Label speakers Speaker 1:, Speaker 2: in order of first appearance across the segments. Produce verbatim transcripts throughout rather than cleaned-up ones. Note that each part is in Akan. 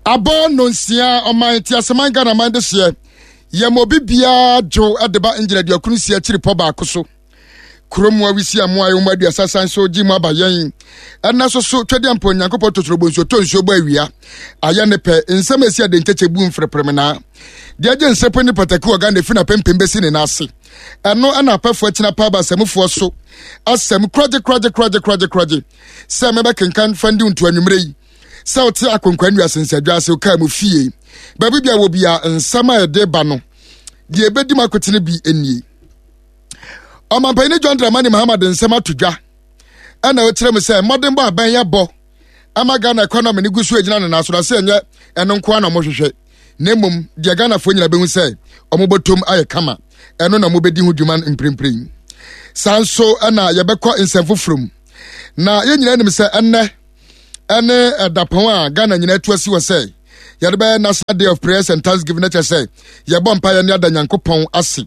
Speaker 1: Abɔ nonsia ɔman teaseman Ghana man de hyeɛ yɛma obi biara dwo de ba ngyina aduakunu si akyiri pɔ baako so kurom awisi amoa yɛn mu aduasa san so gye mu aba yɛn ɛna so so twɛdeɛ mpo Nyankopɔn totoro nsuo tɔ nsuo bɔ awia ayɛ ne pɛ nsɛm esi ade nkyɛkyɛ bu mfrɛprɛmenaa deɛ agye nsɛpɛ ne pataku wɔ Ghana efi na pempem bɛsi ne nan ase ɛno ɛna apɛfoɔ akyina pa aba asɛmufoɔ so asɛm koragye koragye koragye koragye koragye sɛ mɛbɛkenkan fandi nto anwummerɛ yi sɛ wote akonkwa nnua sensɛdwa ase wokaa mu fie baabi bia wɔ bia nsɛm a ɛde ba no deɛ ɛbɛdi mu akotene bi nie. Ɔmampanyini John Dramani Mahama de nsɛm ato dwa ɛna ɔkyerɛ mu sɛ mmɔdenbɔ abɛn yɛbɔ ama Ghana economy no gu so gyina ne nan so na sɛ ɛnyɛ ɛno nko ara na wɔhwehwɛ na mmom deɛ Ghanafoɔ nyina bɛhu sɛ wɔbɛtom ayɛ kama ɛno na wɔbɛdi ho dwuma mprempren. Saa nso ɛna yɛbɛkɔ nsɛm foforɔ mu na yɛn nyinaa nim sɛ ɛnnɛ ɛne ɛdapɔn a Ghana nyinaa atu asi wɔ sɛ yɛde bɛyɛ National Day of Prayers and Thanksgiving na kyerɛ sɛ yɛbɔ mpaeɛ ne ada Nyankopɔn ase.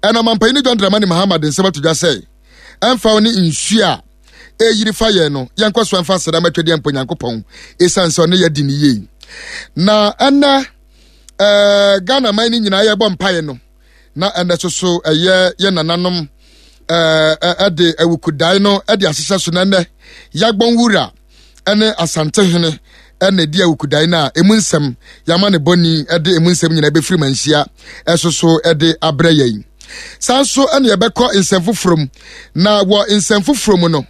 Speaker 1: Ɛna ɔmampanyini John Dramani Mahama de nsɛm ato dwa sɛ ɛmfa wo ne nsuo a ɛyiri fa yɛn no yɛnkɔ so ɛmfa aseda ma twɛdeɛ mpo Nyankopɔn ɛsiane sɛ ɔne yɛadi ne yie. Na ɛnɛ ɛɛ Ghana man no nyinaa yɛbɔ mpaeɛ no na ɛnɛ soso ɛyɛ yɛ nananom ɛɛ ɛde awukudae no ɛde ahyehyɛ so na ɛnɛ yagbɔn wura ɛne Asantehene ɛna ɛdi awukudae no a emu nsɛm yɛama ne bɔni ɛde emu nsɛm nyinaa bɛfiri manhyia ɛso so ɛde abrɛ yɛn. Saa nso ɛna yɛbɛkɔ nsɛm foforɔ mu na wɔ nsɛm foforɔ mu no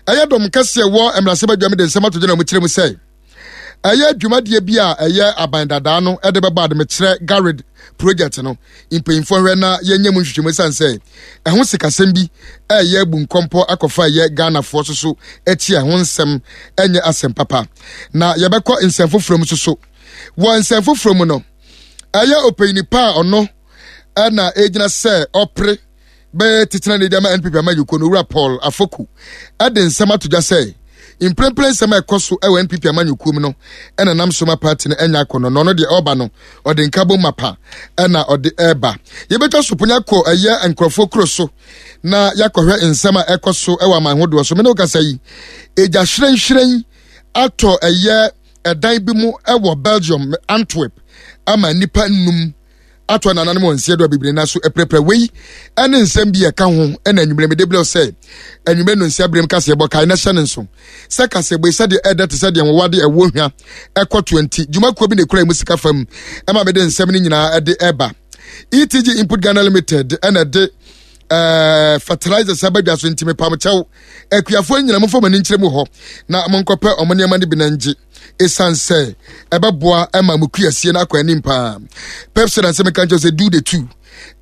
Speaker 1: ɛyɛ dɔm kɛseɛ wɔ mmarahyɛbadwam de nsɛm ato dwa na wɔkyerɛ mu sɛ ɛyɛ dwumadie bi a ɛyɛ aban dadaa no ɛde bɛbɔ ademekyerɛ garid project no mpanyinfoɔ hwɛ na yɛnyɛ mu nhwehwɛmu ɛsiane sɛ ɛho sikasɛm bi ɛyɛ abu nkɔmpɔ akɔfa ɛyɛ Ghanafoɔ so so akyi ɛho nsɛm ɛnyɛ asɛm papa. Na yɛbɛkɔ nsɛm foforɔ mu soso. Wɔ nsɛm foforɔ mu no ɛyɛ ɔpanyini pa a ɔno ɛna ɛgyina sɛ ɔpere bɛyɛ titena ne de ama N P P amanyɔkuo no owura Paul Afoku ɛde nsɛm ato dwa sɛ mprempren nsɛm a ɛkɔ so ɛwɔ N P P amanyɔkuo mu no ɛna nam so ma party no ɛnya akɔnɔ na ɔno deɛ ɔba no ɔde nkabom mapa ɛna ɔde ɛba. Yɛbɛtwa so ponya kɔ ɛyɛ nkurɔfoɔ kuro so na yɛakɔhwɛ nsɛm a ɛkɔ so ɛwɔ aman hodoɔ so. Mene wokasa yi egya hyerɛnhyerɛn atɔ ɛyɛ ɛdan bi mu ɛwɔ Belgium Antwerp ama nnipa nnum atɔ nananom wɔn nsia do a bebree na so ɛpɛrɛpɛrɛ. Wei ɛne nsɛm bi ɛka ho ɛna anwummerɛ mede brɛ sɛ anwummerɛ no nsia berɛm kaseɛbɔ kae na hyɛ ne nso sɛ kaseɛbɔ yi sɛdeɛ ɛdɛ te sɛ deɛ wɔwade ɛwɔ hwa ɛkɔ twenty dwumakuo bi na ekura mu sika fam ɛma mede nsɛm no nyinaa ɛde ɛba. E T G Input Ghana Limited ɛna ɛde ɛɛ fertilizers abadwa so ntumi pam kyɛw akuafoɔ nyinaa mo fam ani nkyerɛ mu hɔ na mo nkɔpɛ ɔmo nneɛma no bi na ngye esan sɛ ɛbɛboa ɛma mo kuasie no akɔ anim paa. Pepsi na nsɛm ka nkyɛn sɛ do the two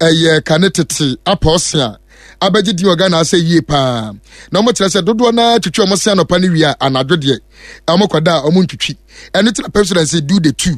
Speaker 1: ɛyɛ kane tete apɔɔse a abɛgye din wɔ Ghana asɛ yie paa na wɔn kyerɛ sɛ dodoɔ naa twitwi wɔn se anɔpa ne wia anadwo deɛ wɔn kɔda a wɔn ntwitwi ɛno ti na Pepsi na nsɛ do the two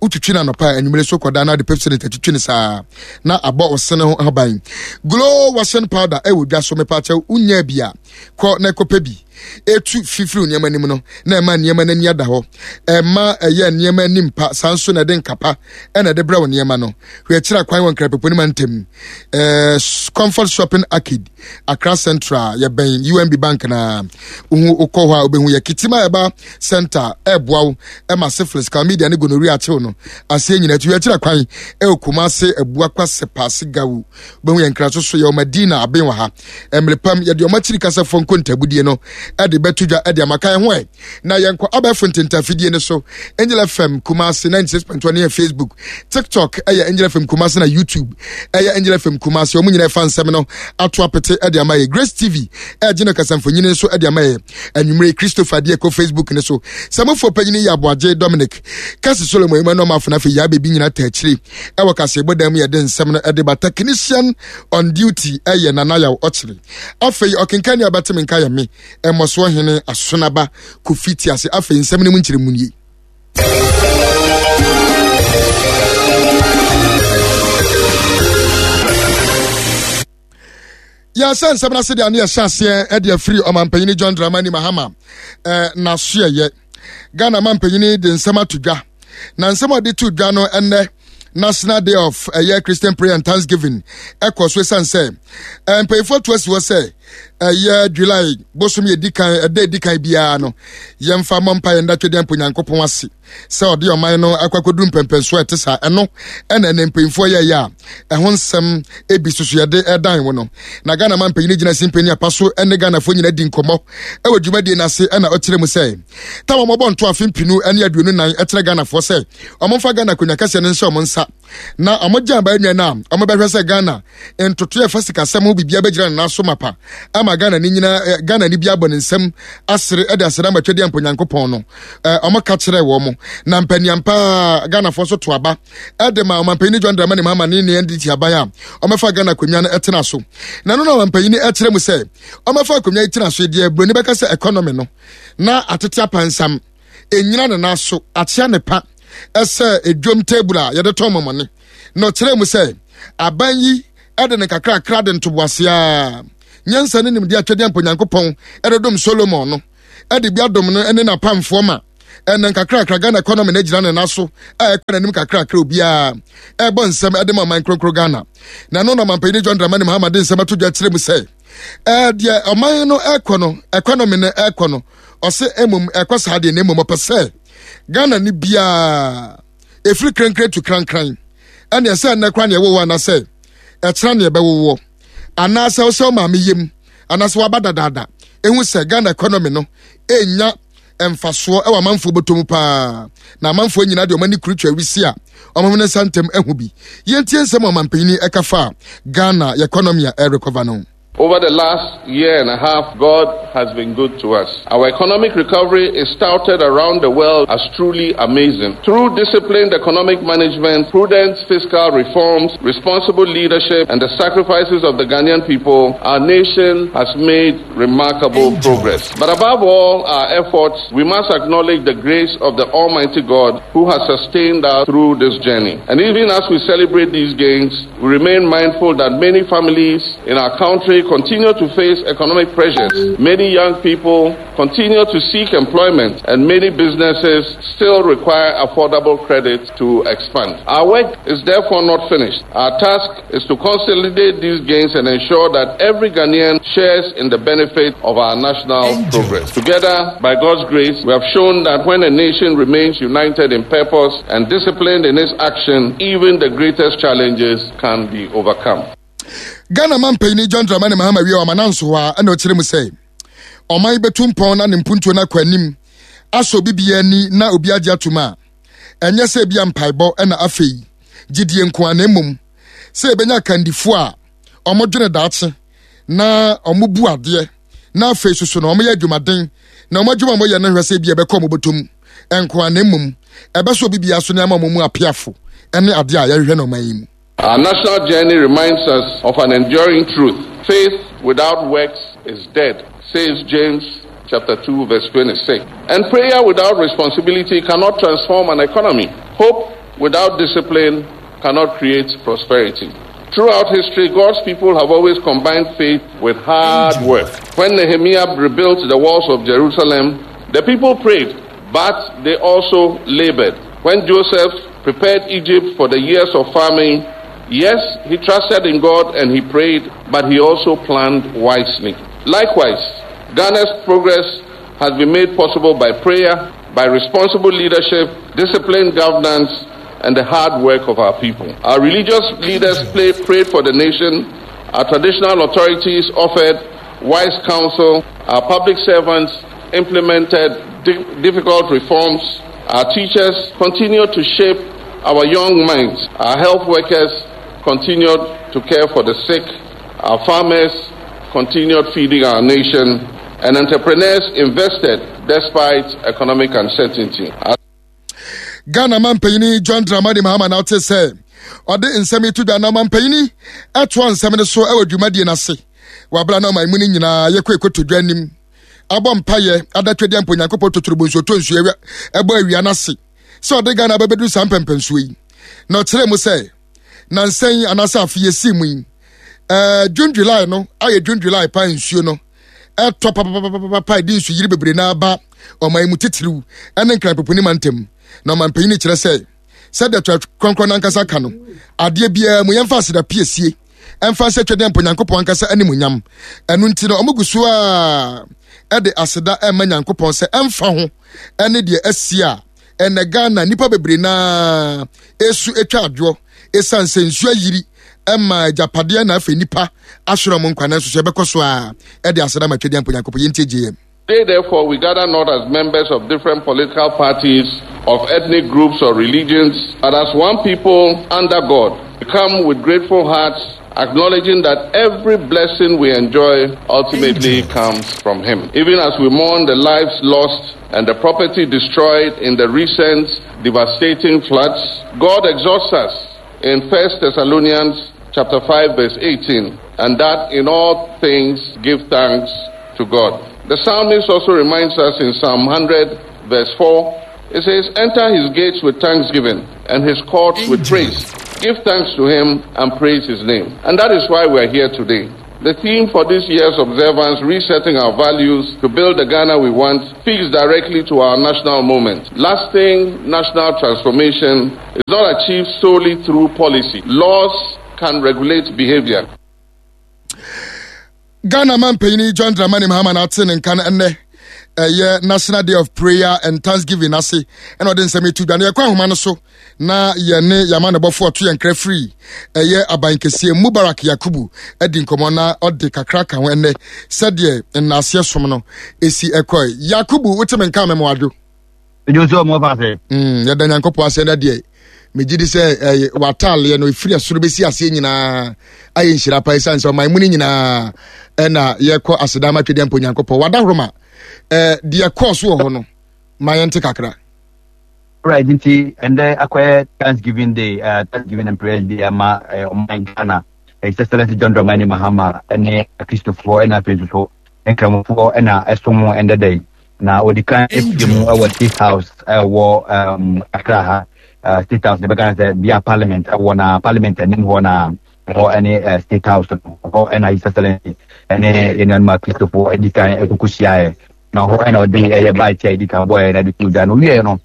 Speaker 1: wotwitwi na anɔpa anwummere so kɔda na de Pepsi na twitwi ne saa na abɔ ɔsene ho aban. Glow washing powder ɛwɔ dwa so mepa kyɛw unya bi a kɔ na ɛkɔpɛ bi etu fifiri nneɛma anim no na ɛma nneɛma n'ani ada hɔ ɛma ɛyɛ nneɛma anim pa saa nso na ɛde nkapa ɛna ɛde brɛ wo nneɛma no. Hwɛ akyiri akwan wɔ nkrapepo ne mantam ɛɛ Comfort Shopping Arcade Accra Central yɛbɛn U N B Bank na wohu wokɔ hɔ a wobɛhu yɛ Kitima Ɛba Center ɛboa wo ɛma syphilis chlamydia ne gonorrhea akyew no aseɛ nyinaa. Hwɛ akyiri akwan ɛwɔ Kumase Abuakwa Sepase Gawu wobɛhu yɛ nkra so so yɛ Madina aben wɔ ha mmerepam yɛde ɔmo akyiri kasafo nkontabudie no ɛde bɛto dwa ɛde amaka ho ɛ na yɛnkɔ abɛɛfo ntentafidie no so Angel F M Kumasi ninety-six point one yɛ Facebook, TikTok ɛyɛ Angel F M Kumasi na YouTube ɛyɛ Angel F M Kumasi. Ɔmo nyinaa ɛfa nsɛm no ato apete ɛde ama yɛ. Grace T V ɛgye no kasamfonyini nso ɛde ama yɛ. Anwummere Christopher deɛ ɛkɔ Facebook ne so. Sɛmofoɔ panyini yɛ Aboagye Dominic Kasi Solomon Emmanuel Mafo na afei yɛ abɛbi nyinaa ta akyire ɛwɔ kaseɛbɔ dan mu yɛde nsɛm no ɛde ba. Technician on duty ɛyɛ Nana Yaw Ɔkyere. Afei ɔkenkan ne ɔbɛteme nka yɛ me ɛmmɔsoɔ hene Asonaba Kofi Tiase. Afei nsɛm no mu nkyerɛmu nie. Yɛsɛ nsɛm no ase deɛ ne yɛhyɛ aseɛ ɛde afiri ɔmampanyini John Dramani Mahama ɛɛ n'asoɛyɛ. Ghana mampanyini de nsɛm ato dwa na nsɛm a ɔde to dwa no ɛnnɛ National Day of ɛyɛ Christian Prayer and Thanksgiving ɛkɔ so ɛsiane sɛ mpanyinfoɔ to asi hɔ sɛ Ɛyɛ July bosom yɛ di kan, ɛda edi kan biara no, yɛmfa mmɔ mpa yɛn datwe deɛ mpo Nyankopɔn ase sɛ ɔde ɔman no akɔ akɔduru mpɛmpɛnsoɔ a ɛte saa. Ɛno ɛna ɛnɛ mpanyinfoɔ yɛyɛ a ɛho nsɛm ebi soso yɛde ɛdan wo no. Na Ghana ma mpanyin gyina si mpanyin apa so ɛne Ghanafoɔ nyinaa di nkɔmmɔ ɛwɔ dwumadie no ase, ɛna ɔkyerɛ mu sɛ tam a wɔbɔ nto afe mpinu ne aduonu nan ɛkyerɛ Ghanafoɔ sɛ ɔmomfa Ghana akonnwa kɛseɛ no nhyɛ ɔmo nsa na ɔmo gye aba nua no a ɔmo bɛhwɛ sɛ Ghana ntotoeɛ fa sikasɛm ho biribiara bɛgyina ne nan so mapa ama Ghana ne nyinaa, Ghana ne bi abɔ ne nsam asere ɛde asere ama twɛdeɛ mpo Nyankopɔn no. Ɔmo ka kyerɛ wɔ mo na mpaniam paa Ghanafoɔ nso to aba ɛde ma ɔmampanyin John Dramani Mahama ne ne N D C aban a ɔmɛfa Ghana akonnwa no ɛtena so. Na no na ɔmampanyin ɛkyerɛ mu sɛ ɔmɛfa akonnwa yi tena so deɛ, buroni bɛka sɛ economy no na atete apansam, ɛnyina ne nan so, akyea ne pa ɛsɛ edwom table a yɛde tɔn mɔmɔne. Na ɔkyerɛ mu sɛ aban yi ɛde ne kakrakra de ntoboaseɛ a nyansa ne nimdeɛ atwɛdeɛ mpo Nyankopɔn ɛde dom Solomon no ɛde bi adom no ne n'apamfoɔ ma ɛnɛ nkakrakra Ghana economy no agyina ne nan so a ɛkɔ n'anim kakrakra, obiara ɛbɔ nsɛm ɛde ma ɔman kronkron Ghana. Na ɛno na ɔmanpanyin John Dramani Mahama de nsɛm ato dwa kyerɛ mu sɛ ɛɛ deɛ ɔman no ɛkɔ no, economy no ɛkɔ no, ɔsɛ emom ɛkɔ saa deɛ, na emom ɔpɛ sɛ Ghana ni biara efiri krenkren tu krankran ɛne ɛsɛ ɛnɛ kora neɛ ɛwɔwɔ anaasɛ ɛkyerɛ neɛ ɛbɛwowɔ anaasɛ ɔsɛ ɔmaame yam anaasɛ waba dadaada ehu sɛ Ghana economy no enya mfasoɔ ɛwɔ amanfoɔ bɔtɔ mu paa, na amanfoɔ nyinaa deɛ ɔmo ani kuru twa wisi a ɔmo ne nsa ntɛm ɛho bi. Yɛntie nsɛm a ɔmanpanyin ɛka fa Ghana economy a ɛrekɔva no.
Speaker 2: Over the last year and a half, God has been good to us. Our economic recovery is touted around the world as truly amazing. Through disciplined economic management, prudent fiscal reforms, responsible leadership, and the sacrifices of the Ghanaian people, our nation has made remarkable progress. But above all our efforts, we must acknowledge the grace of the Almighty God who has sustained us through this journey. And even as we celebrate these gains, we remain mindful that many families in our country continue to face economic pressures. Many young people continue to seek employment, and many businesses still require affordable credit to expand. Our work is therefore not finished. Our task is to consolidate these gains and ensure that every Ghanaian shares in the benefit of our national progress. Together, by God's grace, we have shown that when a nation remains united in purpose and disciplined in its action, even the greatest challenges can be overcome.
Speaker 1: Ghana man panyin John Dramani Mahama wie ɔma nanso hɔ a, ɛna ɔkyerɛ mu sɛ ɔman bɛtu mpɔn na ne mpuntuo no akɔ anim asɔ obi biara ani na obi agye atom a, ɛnyɛ sɛ ebia mpaebɔ ɛna afei gyidie nko a, na mmom sɛ ebɛnya akandifoɔ a ɔmo daakye na ɔmo bu adeɛ na afei soso na ɔmo yɛ adwumaden na ɔmo adwuma a ɔmo yɛ no hwɛ sɛ ebi ɛbɛkɔ ɔmo bɔtɔm nko a, na mmom ɛbɛsɔ obi biara so ne ama ɔmo mu apeafo ɛne adeɛ a yɛhwehwɛ no ɔman yi mu.
Speaker 2: Our national journey reminds us of an enduring truth. Faith without works is dead, says James chapter two verse twenty-six. And prayer without responsibility cannot transform an economy. Hope without discipline cannot create prosperity. Throughout history, God's people have always combined faith with hard work. When Nehemiah rebuilt the walls of Jerusalem, the people prayed, but they also labored. When Joseph prepared Egypt for the years of famine, yes, he trusted in God and he prayed, but he also planned wisely. Likewise, Ghana's progress has been made possible by prayer, by responsible leadership, disciplined governance, and the hard work of our people. Our religious leaders play, prayed for the nation, our traditional authorities offered wise counsel, our public servants implemented di- difficult reforms, our teachers continued to shape our young minds, our health workers continued to care for the sick, our farmers continued feeding our nation, and entrepreneurs invested despite economic uncertainty. Our
Speaker 1: Ghana man panyini John Dramani Mahama na ɔte sɛ ɔde nsɛm yi to dwa, na ɔman ɛtoa nsɛm no so ɛwɔ dwumadie no ase wabra na ɔman mu no nyinaa yɛkɔ ɛkɔto dwa anim abɔ mpayɛ adatwadeɛ mpo Nyankopɔn totorobo nsuo tɔ nsuo ɛbɔ awia no ase sɛ ɔde Ghana bɛbɛduru saa mpɛmpɛnsuo yi. Na ɔkyerɛ mu sɛ nansɛn anaasɛ afe yɛsii mu yi, ɛɛ June, July no ayɛ June, July pa nsuo no ɛtɔ papapapapa, ɛde nsu yiri bebree na aba ɔman mu, titiriw ɛne Nkranpoponi mantam. Na ɔman panyin kyerɛ sɛ sɛdeɛ Twerɛ Kronkron nankasa ka no, adeɛ biara mu yɛmfa aseda piesie. Ɛmfa sɛ Twɛdeɛ Mpo Nyankopɔn ankasa animuonyam. Ɛno nti no, ɔmo gu so a ɛde aseda ɛma Nyankopɔn sɛ ɛmfa ho ɛne deɛ asi a ɛnɛ Ghana nipa bebree naa esu atwa adwoɔ ɛsiane sɛ nsuo ayiri ɛma agyapadeɛ na afei nipa ahwerɛ mo nkwa, nanso so yɛbɛkɔ so a ɛde aseda ma Twɛdeɛ Mpo Nyankopɔn. Yɛntie J M.
Speaker 2: Today, therefore, we gather not as members of different political parties, of ethnic groups or religions, but as one people under God. We come with grateful hearts, acknowledging that every blessing we enjoy ultimately comes from Him. Even as we mourn the lives lost and the property destroyed in the recent devastating floods, God exhorts us in First Thessalonians chapter five verse eighteen, and that in all things give thanks to God. The psalmist also reminds us in Psalm one hundred verse four, it says, "Enter his gates with thanksgiving and his courts with praise. Give thanks to him and praise his name." And that is why we are here today. The theme for this year's observance, "Resetting Our Values to Build the Ghana We Want," speaks directly to our national moment. Lasting national transformation is not achieved solely through policy. Laws can regulate behavior.
Speaker 1: Ghana man panyin John Dramani Mahama na ate ne nka no ɛnnɛ ɛyɛ National Day of Prayer and Thanksgiving ase, ɛna ɔde nsɛm etu dwa no. Yɛkɔ ahoma no so na yɛne yɛama ne bɔfo ɔto yɛn kra firi ɛyɛ aban kɛseɛ, Mubarak Yakubu, adi nkɔmmɔ na ɔde kakra ka ho ɛnnɛ sɛdeɛ nnaaseɛ som no esi ɛkɔe. Yakubu, wote me nka mɛmoadwo?
Speaker 3: Ejo nso ɔmo fa ase.
Speaker 1: Mm, yɛda Nyankopɔn ase. Ɛnɛ deɛ megye di sɛ ɛyɛ w'ataaleɛ no ɛfiri ɛsoro bɛsi aseɛ nyinaa ayɛ nhyira pa, ɛsiane sɛ ɔman mu no nyinaa ɛna yɛkɔ aseda ma Twɛdeɛ Mpo Nyankopɔn wadahoroma. Ɛɛ deɛ kɔɔ so wɔ hɔ no, ma yɛnte kakra.
Speaker 3: Right, nti ɛndɛ akɔyɛ Thanksgiving Day, uh, Thanksgiving and Prayer Day ama uh, ɔman Ghana. His Excellency John Dramani Mahama ɛne Akristofoɔ ɛna afei nso so Nkramofoɔ ɛna ɛsom ɛndɛ da yi. Na ɔdi kan efie mu ɛwɔ State House ɛwɔ um, Accra ha. Uh, State House ne bɛka sɛ bia Parliament ɛwɔ, na Parliament anim hɔ na hɔ ɛne uh, State House no hɔ ɛna His Excellency ɛne yɛn nuanom Akristofoɔ ɛdi kan ɛkoko hyiaeɛ, na hɔ ɛna ɔde ɛyɛ bite a ɛdi kan bɔɔɛ na ɛde to dwa no wieɛ no,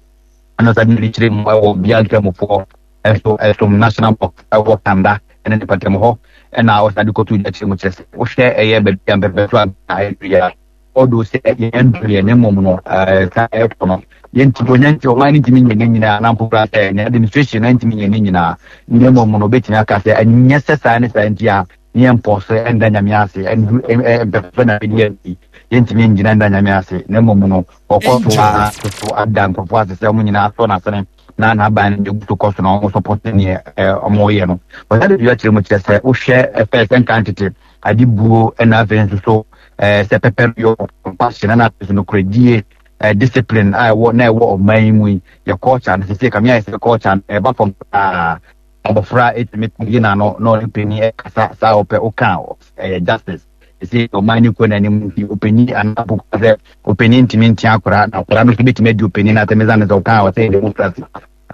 Speaker 3: ɛna ɔsan de kyerɛ mu ɛwɔ bia Nkramofoɔ ɛso ɛsom National Mosque ɛwɔ Kanda ɛne ne pɛtɛm hɔ, ɛna ɔsan de kɔto dwa kyerɛ mu kyerɛ sɛ wohwɛ ɛyɛ baabi a mpɛpɛso a ɛyɛ a ɔdo sɛ yɛn duru yɛn ne mmom no, ɛɛ saa ɛkɔ no, yɛntumi onya nti ɔman no ntumi nyɛ ne nyinaa, na mpo koraa sɛ ne administration no ntumi nyɛ ne nyinaa, ne mmom no obɛtumi aka sɛ ɛnyɛ sɛ saa ne saa nti a ne yɛn mpɔ so ɛnda Nyame ase ɛndu ɛɛ mpɛpɛpɛ na bɛdi akyi, yɛntumi ngyina nda Nyame ase, na mmom no ɔkɔ so a so ada nkurɔfoɔ ase sɛ ɔmo nyinaa sɔ n'asene na n'aban no egu so kɔ so na ɔmo support neɛ ɛɛ ɔmo yɛ no. Ɔsan de dua kyerɛ mu kyerɛ sɛ wohwɛ ɛfɛ sɛ nka tete ade buo, ɛna afei nso so ɛɛ sɛ pɛpɛ yɔ, compassion, ɛna afei nso nokoredie, ɛɛ discipline a ɛwɔ na ɛwɔ ɔman yi mu yi, yɛ culture no sisi kame ayɛ sɛ culture no ɛba fam paa. Abɔfra etumi yi n'ano na ɔne panyin ɛkasa saa ɔpɛ ɔka ɛyɛ justice. Sisi ɔman no kɔ n'anim nti ɔpanyin anaa boko sɛ ɔpanyin ntumi ntia akora, na akora no nso betumi adi ɔpanyin na atɛmɛ sane sɛ ɔka a ɔsɛ democracy,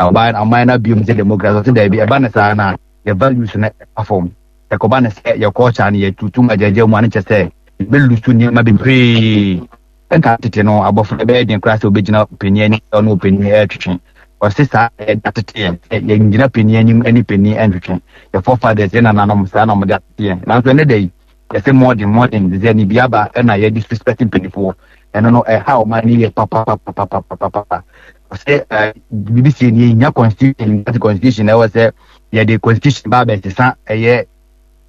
Speaker 3: ɔban ɔman no abiom sɛ democracy. Ɔsɛ daabi, ɛba ne saa na yɛ values no ɛba fam. Ɛkɔba ne sɛ yɛ culture no yɛtutu agyagya mu a, ne kyɛ sɛ yɛbɛlose nneɛma bebree. Ɛnka tete no, abɔfra bɛyɛ den koraa sɛ obɛgyina panin anim sɛ ɔne ɔpanin ɛretwetwe. Ɔse saa yɛde atete yɛn sɛ yɛngyina panin anim ne panin ɛntwetwe. Yɛ forefathers, yɛ nananom, saa na ɔmode atete yɛn, nanso ɛnɛ da yi yɛsɛ modern modern de sɛ ne bi aba ɛna yɛde disrespect mpanimfoɔ. Ɛno no ɛha ɔman no yɛ papapapapapapa. Ɔsɛ ɛɛ biribi sie ni yɛnya constitution ati constitution, ɛwɔ sɛ yɛde constitution ba abɛsesa ɛyɛ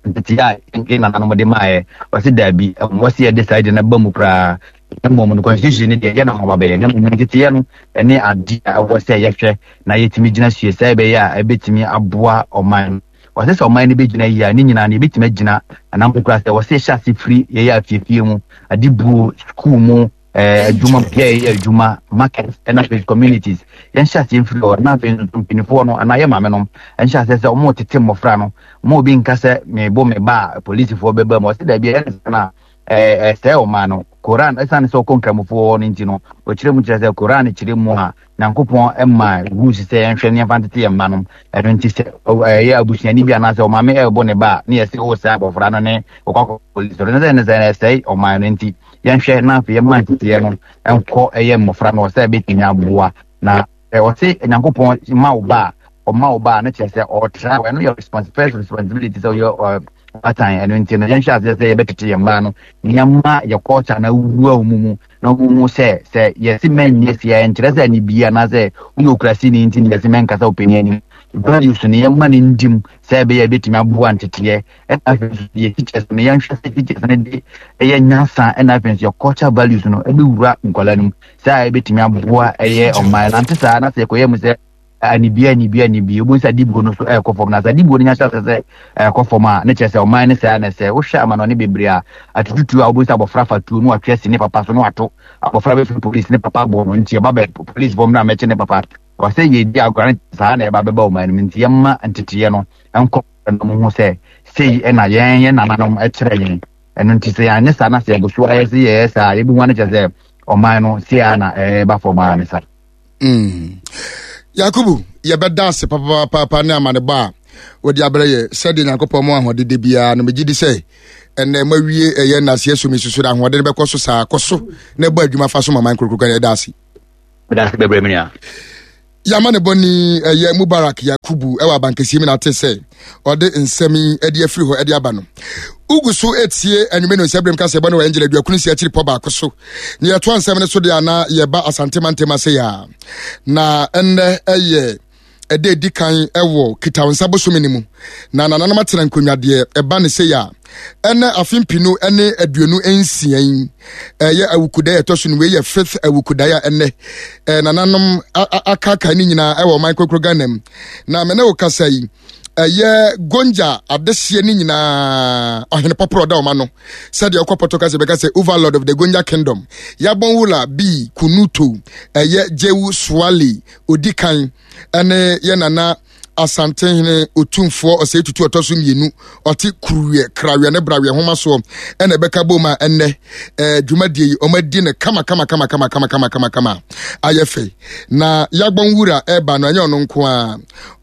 Speaker 3: ntete a yɛn nananom de maayɛ. Ɔsɛ daabi, ɛwɔ sɛ yɛde saa de no ba mu koraa, na mmom no constitution no deɛ yɛ na ɔba bɛyɛ, na mmom nteteɛ no ɛne ade a ɛwɔ sɛ yɛhwɛ na yɛtumi gyina sue sɛ ɛbɛyɛ a ɛbɛtumi aboa ɔman no. Wɔsɛ sɛ ɔman no bɛgyina yie a, ne nyinaa no yɛbɛtumi agyina anam koraa sɛ wɔsɛ yɛhyɛ ase firi yɛyɛ afiefie mu, ade buo, school mu, ɛɛ adwuma bia yɛyɛ adwuma, market, ɛna afei communities. Yɛnhyɛ aseɛ mfiri hɔ, na afei nso mpanimfoɔ no anaa yɛ maame nom ɛnhyɛ aseɛ sɛ wɔn tete mmɔfra no mo. Obi nka sɛ mebo me ba a, polisifoɔ bɛba mu. Ɔsɛ daabi, ɛyɛ ne sɛ na ɛɛ ɛsɛe ɔman no. Koran, ɛsiane sɛ ɔkɔ Nkramofoɔ hɔ no nti no, ɔkyerɛ mu kyerɛ sɛ Koran kyerɛ mu a Nyankopɔn ma rules sɛ yɛnhwɛ ne yɛmfa ntete yɛn mma nom. Ɛno nti sɛ ɛyɛ abusuani bi anaasɛ ɔmaame ɛrebɔ ne ba a, ne yɛsɛ wo sɛ abɔfra no ne ɔkɔ akɔ polisi no sɛ ne sɛ ɛsɛe ɔman no. Nti yɛnhwɛ na afei yɛma nteteɛ no nkɔ ɛyɛ mmɔfra no sɛ ɛbɛtumi aboa. Na ɔse Nyankopɔn ma wo ba a, ɔma wo ba a, ne kyerɛ sɛ ɔtra ɛno yɛ response first responsibility sɛ ɔyɛ Atan ɛno nti no, yɛnhyɛ aseɛ sɛ yɛbɛtete yɛn mmaa no nneɛma yɛ culture na wura wɔn mu na wɔn mu sɛ sɛ yɛsi mɛnyɛ si a, nkyerɛ sɛ ani bie anaasɛ woyɛ okurasini nti ne yɛsi mɛnkasa ɔpanin anim. Values no, yɛma no ndim sɛ ɛbɛyɛ ɛbɛtumi aboa nteteɛ. Ɛna afei nso yɛ teachers no, yɛnhwɛ sɛ teachers no de ɛyɛ nyansa, ɛna afei nso yɛ culture values no ɛbɛwura nkwadaa no mu sɛ a ɛbɛtumi aboa ɛyɛ ɔman. Nante saa na sɛ yɛkɔyɛ mu sɛ anibie, anibie, anibie, obu nsa adibuo no so ɛɛkɔ fam, na sɛ adibuo no nya hyɛ sɛ ɛɛkɔ fam a, ne kyerɛ sɛ ɔman ne saa. Na sɛ wohwɛ amanɔne bebree a atututu a, wobu nsa abɔfra fa tuo no, watwe asi ne papa so no, wato abɔfra bɛfiri police, ne papa bɔ no nti ɔba bɛ police fam no a mɛkye ne papa wɔsɛ yɛdi agorɔ no saa na ɛba bɛba ɔman no mu. Nti yɛma nteteeɛ no nkɔ no mu ho sɛ sei ɛna yɛn yɛn nananom ɛkyerɛ yɛn. Ɛno nti sɛ yɛanyɛ saa na sɛ yɛgo so ayɛ sɛ yɛyɛ saa, yɛbɛhu ano kyerɛ sɛ ɔman no sei a na ɛba fam a ne sa.
Speaker 1: Mm. Yakubu, yɛbɛda ase papapaapa ne amanebɔ a wɔde abrɛ yɛ sɛdeɛ Nyankopɔn mu ahoɔden de biara no. Megye di sɛ ɛnɛ mawie ɛyɛ nnaseɛ so mesusu no, ahoɔden no bɛkɔ so saa, kɔ so na ɛbɔ adwuma fa so ma man korokoro. Ɛda ase.
Speaker 3: Meda ase bebree, me nua.
Speaker 1: Yɛama ne bɔne ɛyɛ Mubarak Yakubu ɛwɔ abankɛseɛ mu na ate sɛ ɔde nsɛm yi ɛde afiri hɔ ɛde aba no. Ugu so etie anwumɛ no nsɛ berɛm ka sɛ ɛbɔ ne wɔ Angel aduakunu si akyiri pɔ baako so ne yɛtoa nsɛm no so deɛ ana yɛba Asante mantam ase yɛ a, na ɛnnɛ ɛyɛ ɛda edi kan ɛwɔ Kitawonsa bosome no mu na nananom atena nkonnwa. Deɛ ɛba ne sɛ a ɛnɛ afe mpinu ne aduonu nsia yi ɛyɛ awukudae ɛtɔ so no. Wei yɛ fifth awukudae a ɛnɛ ɛɛ nananom akaaka ne nyinaa ɛwɔ ɔman kokoro Ghana mu. Na mene wo kasa yi, ɛyɛ Gonja adehyeɛ ne nyinaa ɔhene pɔporɔ ɔda ɔma no sɛdeɛ ɔkɔ pɔtɔ kasa bɛka sɛ overlord of the Gonja Kingdom, Yabɔnwula B Kunuto ɛyɛ Jewu Swali odi kan, ɛne yɛ nana Asantehene Otumfoɔ Ɔsɛe Tutu ɔtɔ so mmienu, ɔte Kuruwiɛ, Krawiɛ ne Brawiɛ homa soɔ, ɛna ɛbɛka bom a ɛnnɛ ɛɛ dwumadie yi ɔmo no kama kama kama kama kama kama kama kama ayɛ fɛ. Na Yagbɔn Wura ɛɛba no, ɛnyɛ ɔno nko a,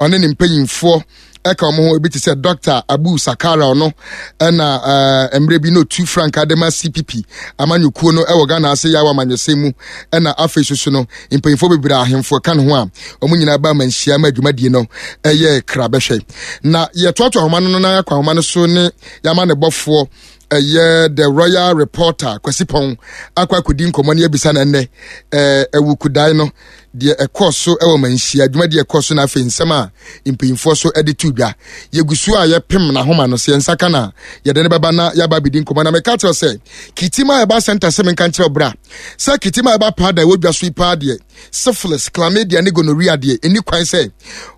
Speaker 1: ɔne ne mpanyinfoɔ ɛka wɔn ho, ebi te sɛ Doctor Abu Sakara, ɔno ɛna ɛɛ mmerɛ bi na otu frankaa de ma C P P amanyɔkuo no ɛwɔ Ghana ase yawa amanyɔsɛm mu. Ɛna afei soso no mpanyinfoɔ bebree, ahemfo ɛka ne ho a wɔn nyinaa ba ama nhyia ma dwumadie no ɛyɛ kra bɛhwɛ. Na yɛtoato ahoma no na yɛakɔ ahoma no so ne yɛama ne bɔfoɔ ɛyɛ the royal reporter Kwasi Pɔn akɔ akɔdi nkɔmmɔ ne abisa no ɛnnɛ ɛɛ awukudae no deɛ ɛkɔɔ so ɛwɔ manhyia dwumadie ɛkɔɔ so, na afei nsɛm a mpanyinfoɔ so ɛde to dwa. Yɛgu so a yɛpem n'ahoma no sɛ yɛn ka na yɛde ne bɛba na yɛaba abɛdi nkɔmmɔ. Na meka kyerɛ sɛ Kitima Herbal Center sɛ menka nkyerɛ bra sɛ Kitima Herbal Powder ɛwɔ dwa so yi paa deɛ, syphilis, chlamydia ne gonorrhea deɛ, ɛni kwan sɛ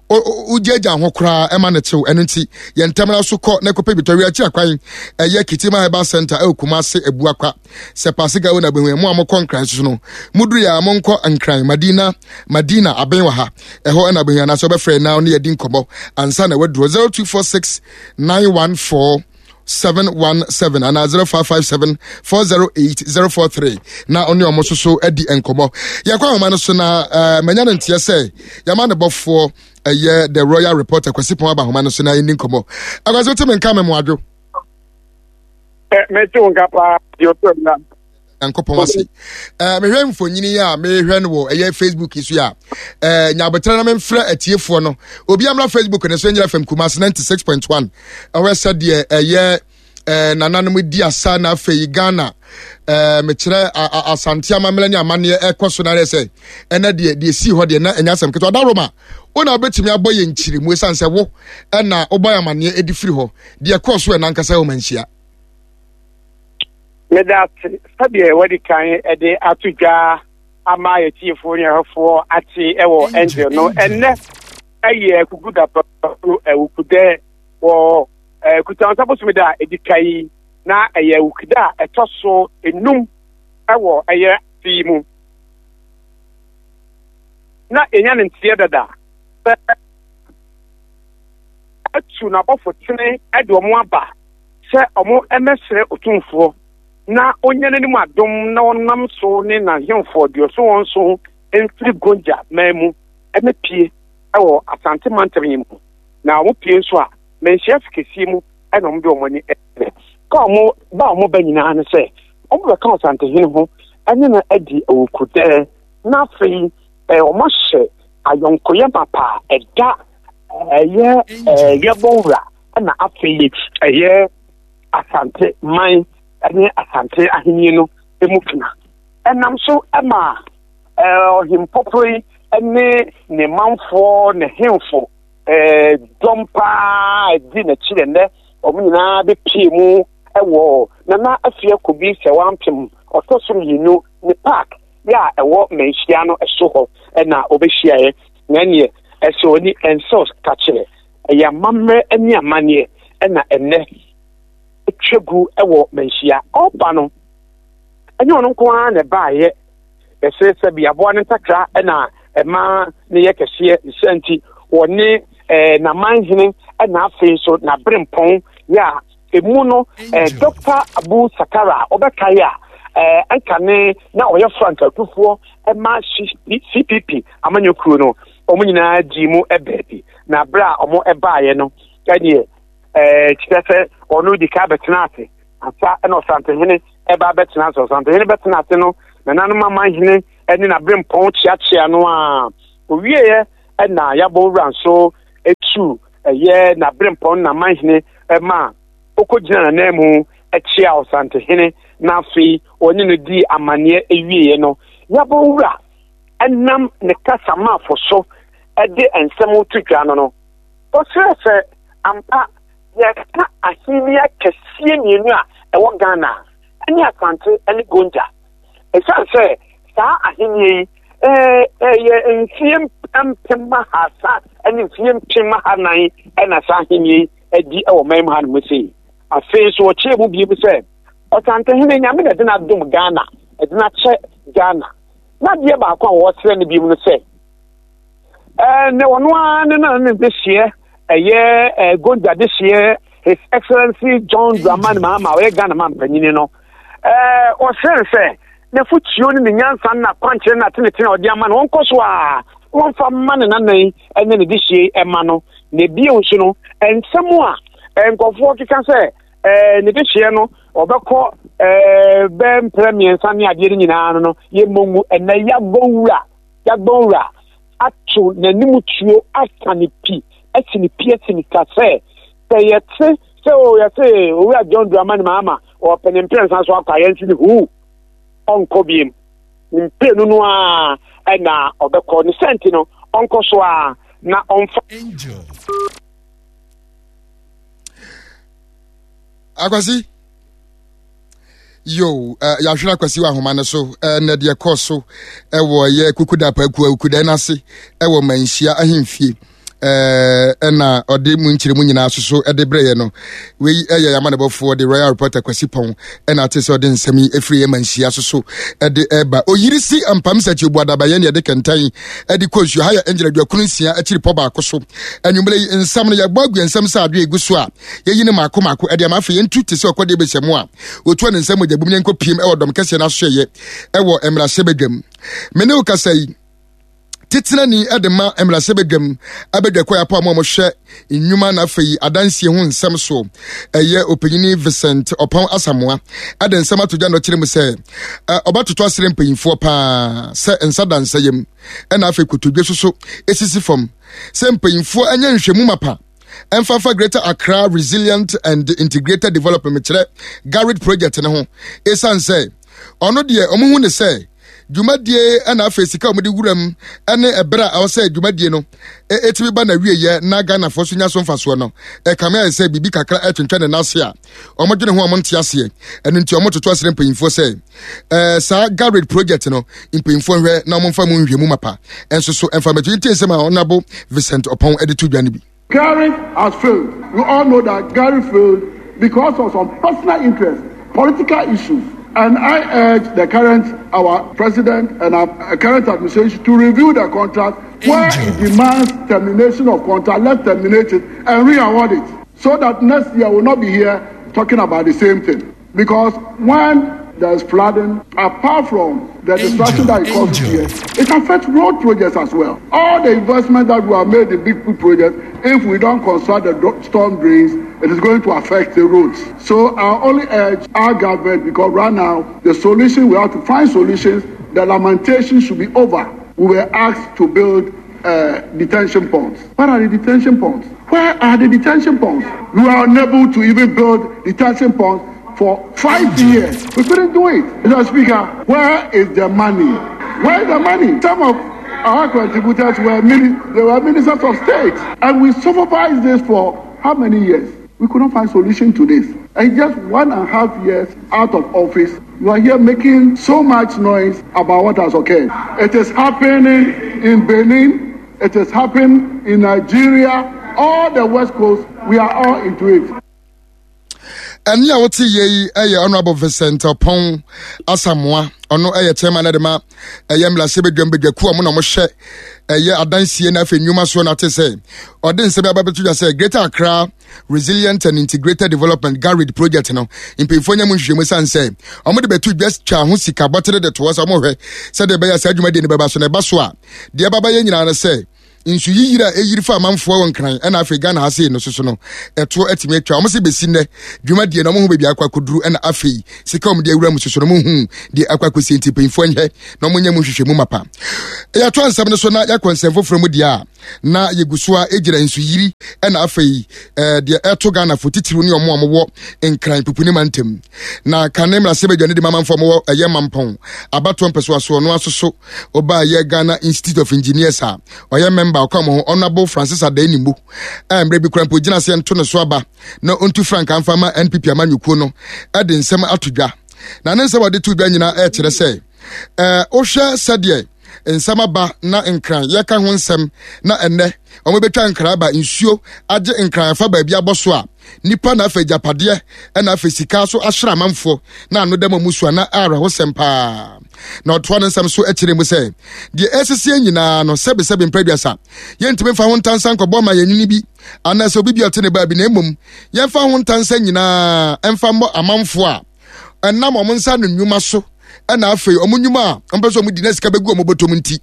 Speaker 1: wogyagya ho koraa ɛma no kyew. Ɛno nti yɛn ntɛmra so kɔ na kɔpɛ bi tɔwe akyi akwan. Ɛyɛ Kitima Herbal Center ɛwɔ Kumase Abuakwa sɛ Pasika wo na bɛhu. Mo a mokɔ Nkran soso no, moduru yɛ a monkɔ Nkran Madina, Madina abɛn wɔ ha, ɛhɔ ɛna bɛhu, anaasɛ wobɛfrɛ na ne yɛdi nkɔmmɔ ansa na waduro zero two four six nine one four seven one seven anaa zero five five seven four zero eight zero four three na ɔne ɔmo nso so adi nkɔmmɔ. Yɛkɔ ahoma no so na uh, manya no nteɛ sɛ yɛama ne bɔfoɔ ɛyɛ the royal reporter Kwasi Pɔn aba ahoma no so na yɛni nkɔmmɔ. Akwasi, wote me nka me moadwo?
Speaker 4: Mete wo nka paa deɛ ɔtɔ na.
Speaker 1: Nyankopɔn ase. uh, mehwɛ mfonyini yi a mehwɛ no wɔ ɛyɛ Facebook yi so a, uh, nyabotrɛ na memfrɛ atiefoɔ no, obi amra Facebook ne so nyerɛ F M Kumase ninety-six point one ɛhɔ sɛ deɛ ɛyɛ eh, nananom di asa, na afei Ghana eh, mekyerɛ Asante amammerɛ ne amanneɛ ɛkɔ so. Na sɛ ɛnɛ deɛ deɛ sii hɔ deɛ, na ɛnyɛ asɛm ketewa. Da Roma wo na wobɛtumi abɔ yɛ nkyirimu, ɛsiane sɛ wo ɛna wobɔ yɛ amanneɛ ɛdi firi hɔ deɛ ɛkɔɔ so ɛna ankasa wɔ manhyia.
Speaker 4: Meda ase. Sɛdeɛ wadi kan de ato dwa ama yɛtiefoɔ ne ahwɛfoɔ ate ɛwɔ Angel no, ɛnnɛ ɛyɛ kuku da awukudɛ wɔ Kutansa bosome da a ɛdi ka yi, na ɛyɛ awukuda a ɛtɔ so enum ɛwɔ ɛyɛ afe yi mu. Na ɛnya ne nteɛ dada sɛ atu n'abɔfo tene de wɔn aba sɛ ɔmo mmɛsrɛ Otumfoɔ na onya n'anim adom na ɔnam so ne n'ahemfo aduɔso wɔn so mfiri Gonja man mu ɛmɛpie ɛwɔ Asante mantam yi mu. Na ɔmo pie nso a, manhyia fi kɛseɛ mu ɛna ɔmo de ɔmo ani ɛkyerɛ ka ɔmo ba. Ɔmo ba nyinaa ne sɛ ɔmo bɛka Ɔsantehene ho ɛne no adi awukudɛɛ, na afei ɛɛ ɔmo ahyɛ ayɔnkoyɛ mapa a ɛda ɛyɛ ɛɛ yɛbɔ wura, ɛna afei ɛyɛ Asante man ne Asante ahenni no mu kena. Ɛnam so ma ɔhempɔporɔ yi ne ne manfoɔ ne hemfo dɔm paa di n'akyi nnɛ wɔn nyinaa bɛpie mu wɔ Nana Afia Kobi Sɛwampem ɔtɔ so mmienu ne park yɛ a ɛwɔ Manhyia no so hɔ na wɔbɛhyiaeɛ. Na ɛneɛ ɛsɛ ɔni ɛnsɛ ka kyerɛ ɛyɛ amammerɛ ne amanneɛ ɛna ɛnnɛ atwa gu wɔ Manhyia. Ɔba no ɛnyɛ ɔno nko ara na ɛbaeɛ. Ɛsɛ sɛ biaboa no ntakra ɛna ɛma ne yɛ kɛseɛ ne sɛ nti wɔne ɛɛ n'amanhene ɛna afei nso n'aberempɔn yɛ a emu no ɛɛ Dɔkta Abu Sakara a ɔbɛkae a ɛɛ anka ne na ɔyɛ frankatufoɔ ɛma C P P amanyɔkuo no wɔn nyinaa dii mu ɛbaabi na abere a wɔn ɛbaeɛ no ɛneɛ ɛɛ kyerɛ sɛ ɔno di ka bɛtena ase ansa ɛna ɔsantehene ɛba bɛtena ase. Ɔsantehene bɛtena ase no nananom amanhene ɛne n'aberempɔn kyeakyea no a owieɛ ɛna yabɔ wura nso etu ɛyɛ n'aberempɔn n'amanhene ɛma okɔgyina n'anan mu ɛkyea ɔsantehene na afei ɔne no di amanneɛ ewieɛ no yabɔ wura ɛnam ne kasamafo so ɛde nsɛm to dwa no no ɔsrɛ sɛ ampa yɛka ahenni akɛseɛ mmienu a ɛwɔ Ghana ɛne Asante ɛne Gonja. Ɛsiane sɛ saa ahenni yi ɛyɛ mfie mpem ahasa ɛne mfie mpem ahanan ɛna saa ahenni yi adi ɛwɔ man mu ha no mu sei. Afei nso wɔkyerɛ mu bio sɛ ɔsantehene Nyame na ɛde n'adom Ghana ɛde n'akyɛ Ghana. Na adeɛ baako a wɔsrɛ no bio no sɛ ɛɛ ne ɔno ara ne nana ne dehyeɛ ɛyɛ ɛɛ Gonja dehyeɛ His Excellency John Dramani Mahama ɔyɛ Ghana man panyini no ɛɛ ɔsrɛ sɛ n'afotuo ne ne nyansa ne n'akwankyerɛ ne n'atenetene a ɔde ama no wɔnkɔ so a wɔmfa mma ne nanan ne ne dehyeɛ ɛma no. Na ebio nso no nsɛm a nkɔfoɔ keka sɛ ɛɛ ne dehyeɛ no ɔbɛkɔ ɛɛ bɛɛ mprɛ mmiɛnsa ne adeɛ no nyinaa no no yɛmmɔ ngu. Ɛnɛ yabɔ wura yabɔ wura ato n'anim tuo aka ne pi asi ne pi asi ne ka sɛ sɛ yɛte sɛ o yɛte owura John Dramani Mahama ɔpɛ ne mprɛnsa so akɔ a yɛnsi ne huu ɔnkɔ biem ne mprenu no a ɛna ɔbɛkɔ ne sɛnti no ɔnkɔ so a na ɔmfa.
Speaker 1: Akwasi yo uh, yɛahwere Akwasi wɔ ahoma no so uh, na deɛ kɔɔ so ɛwɔ yɛ kukuda paakua kukuda no ase ɛwɔ Manhyia ahemfie ɛna ɔde mu nkyerɛ mu nyinaa soso ɛde brɛyɛ no. Wei ɛyɛ yamanebɔfoɔ de Royal Reporter Kwasi Pɔn ɛna ate sɛ ɔde nsɛm yi ɛfiri yɛ Manhyia soso ɛde ɛba. Oyiri si ampam sɛ kyi obu adabayɛ ne ɛde kɛntɛn ɛde kɔ nsuo ha yɛ ɛngyina aduakunu nsia akyiri pɔ baako so. Anwummerɛ yi nsɛm no yɛbɔ agu nsɛm sɛ adeɛ egu so a yɛyi ne maako maako ɛde ama afei yɛntu te sɛ ɔkɔdeɛ bɛhyɛ mu a wɔtua ne nsɛm mogya bum ne nkɔ piem ɛwɔ dɔm kɛseɛ no asoɛyɛ ɛwɔ mmarahyɛ badwam. Me ne wo kasa yi titenani ɛde ma mmarahyɛ badwam abadwa kɔ yapɔ a mo a mohwɛ nnwuma na afei adansie ho nsɛm so ɛyɛ ɔpanyini Vincent Ɔpɔn Asamoa ɛde nsɛm ato dwa na ɔkyerɛ mu sɛ ɔbɛtoto asrɛ mpanyinfoɔ paa sɛ nsa da nsa yam ɛna afei kotodwe soso esisi fam sɛ mpanyinfoɔ ɛnyɛ nhwɛmu mapa ɛmfafa Greater Accra Resilient and Integrated Development kyerɛ GARID project ne ho ɛsiane sɛ ɔno deɛ ɔmo hu ne sɛ dwumadie ɛna afei sika a wɔde wuram ɛne ɛberɛ a ɛwɔ sɛ dwumadie no ɛtumi ba na wieyɛ na Ghanafoɔ so nya so mfasoɔ no ɛkame ayɛ sɛ biribi kakra ɛtwentwɛn ne n'ase a wɔdwene ho a wɔnte aseɛ. Ɛno nti wɔtoto asrɛ mpanyinfoɔ sɛ ɛɛ saa GARID project no mpanyinfoɔ nhwɛ na wɔmfa mu nhwɛ mu mapa ɛnso so ɛmfa mɛto ntie nsɛm a Honorable Vincent Ɔpɔn ɛde to dwa no bi.
Speaker 5: GARID has failed. We all know that GARID failed because of some personal interests, political issues. And I urge the current, our president and our current administration to review the contract. Where it demands termination of contract, let's terminate it and re-award it so that next year we'll not be here talking about the same thing. Because when there's flooding, apart from the destruction that it causes here, it affects road projects as well. All the investment that we have made in big projects, if we don't construct the storm drains, it is going to affect the roads. So I only urge our government, because right now, the solution, we have to find solutions. The lamentation should be over. We were asked to build uh, detention ponds. Where are the detention ponds? Where are the detention ponds? We are unable to even build detention ponds for five years. We couldn't do it. Mr. Speaker, where is the money? Where is the money? Some of our contributors were, mini- they were ministers of state, and we supervised this for how many years? We could not find solution to this. And just one and a half years out of office, you are here making so much noise about what has occurred. It is happening in Benin. It is happening in Nigeria. All the West Coast, we are all into it.
Speaker 1: Ɛne a wote yie yi yɛ Honorable Vincent Ɔpɔn Asamoa. Ɔno yɛ chairman de ma ɛyɛ mmarahyɛbadwam badwakuo a ɔmo na ɔmohwɛ ɛyɛ adansie na afei nnwuma soɔ no ate sɛ ɔde nsɛm aba bɛto dwa sɛ Greater Accra Resilient and Integrated Development GARID project no mpanyinfoɔ nya mu nhwehwɛmu sane sɛ ɔmo de bɛto dwa twa ho sika bɔtere de toɔ sɛ ɔmo hwɛ sɛdeɛ ɛbɛyɛ saa dwumadie no bɛba so na ɛba so a deɛ ɛba bɛyɛ nyinaa no sɛ nsu yiyiri a ɛyiri fa amanfoɔ wɔ Nkran ɛna afei Ghana ha sei no soso no ɛtoɔ atumi atwa. Wɔn sɛ bɛsi nnɛ dwumadie no wɔn ho baabi akɔ akɔduru ɛna afei sika wɔn de awura mu soso no wɔn hu deɛ akɔ akɔsie nti mpanyinfoɔ nyɛ na wɔn nyɛ mu nhwehwɛ mu mapa. Yɛato nsɛm no so na yɛakɔ nsɛm foforɔ mu deɛ a na yɛgu so a ɛgyina nsu yiri ɛna afei ɛɛ deɛ ɛto Ghana fo titiriw ne wɔn a wɔwɔ Nkran pupuni mantam na kane mmarahyɛ badwa ne de mamanfoɔ wɔwɔ ɛyɛ Mampɔn abatoɔ mpɛsoasoɔ no asoso ɔbaa yɛ Ghana Institute of Engineers a ɔyɛ member ɔka mo ho Honorable Francis Adae a mmerɛ bi kora mpo gyina seɛ nto ne so aba na ɔntu frankaa mfa ma N P P amanyɔkuo no de nsɛm ato dwa. Na ne nsɛm a ɔde to dwa nyinaa ɛkyerɛ sɛ ɛɛ wohwɛ sɛdeɛ nsɛm aba na Nkran yɛka ho nsɛm na ɛnɛ wɔn bɛtwa Nkran aba nsuo agye Nkran afa baabi abɔ so a nipa na afei agyapadeɛ ɛna afei sika so ahyerɛ amanfoɔ na ano dɛm ɔmo so a na awerɛhosɛm paa. Na ɔtoa ne nsɛm so akyerɛ mu sɛ deɛ ɛsisie nyinaa no sɛbesɛbe mprɛduasa yɛntumi mfa ho ntansa nkɔbɔ ma yɛnwini bi anaasɛ obi bi ɔte ne baabi na mmom yɛmfa ho ntansa nyinaa ɛmfa mmɔ amanfoɔ a ɛnam ɔmo nsa no nnwuma so ɛna afei ɔmo nnwuma a ɔmo pɛ sɛ ɔmo di na sika bɛgu ɔmo bɔtɔm nti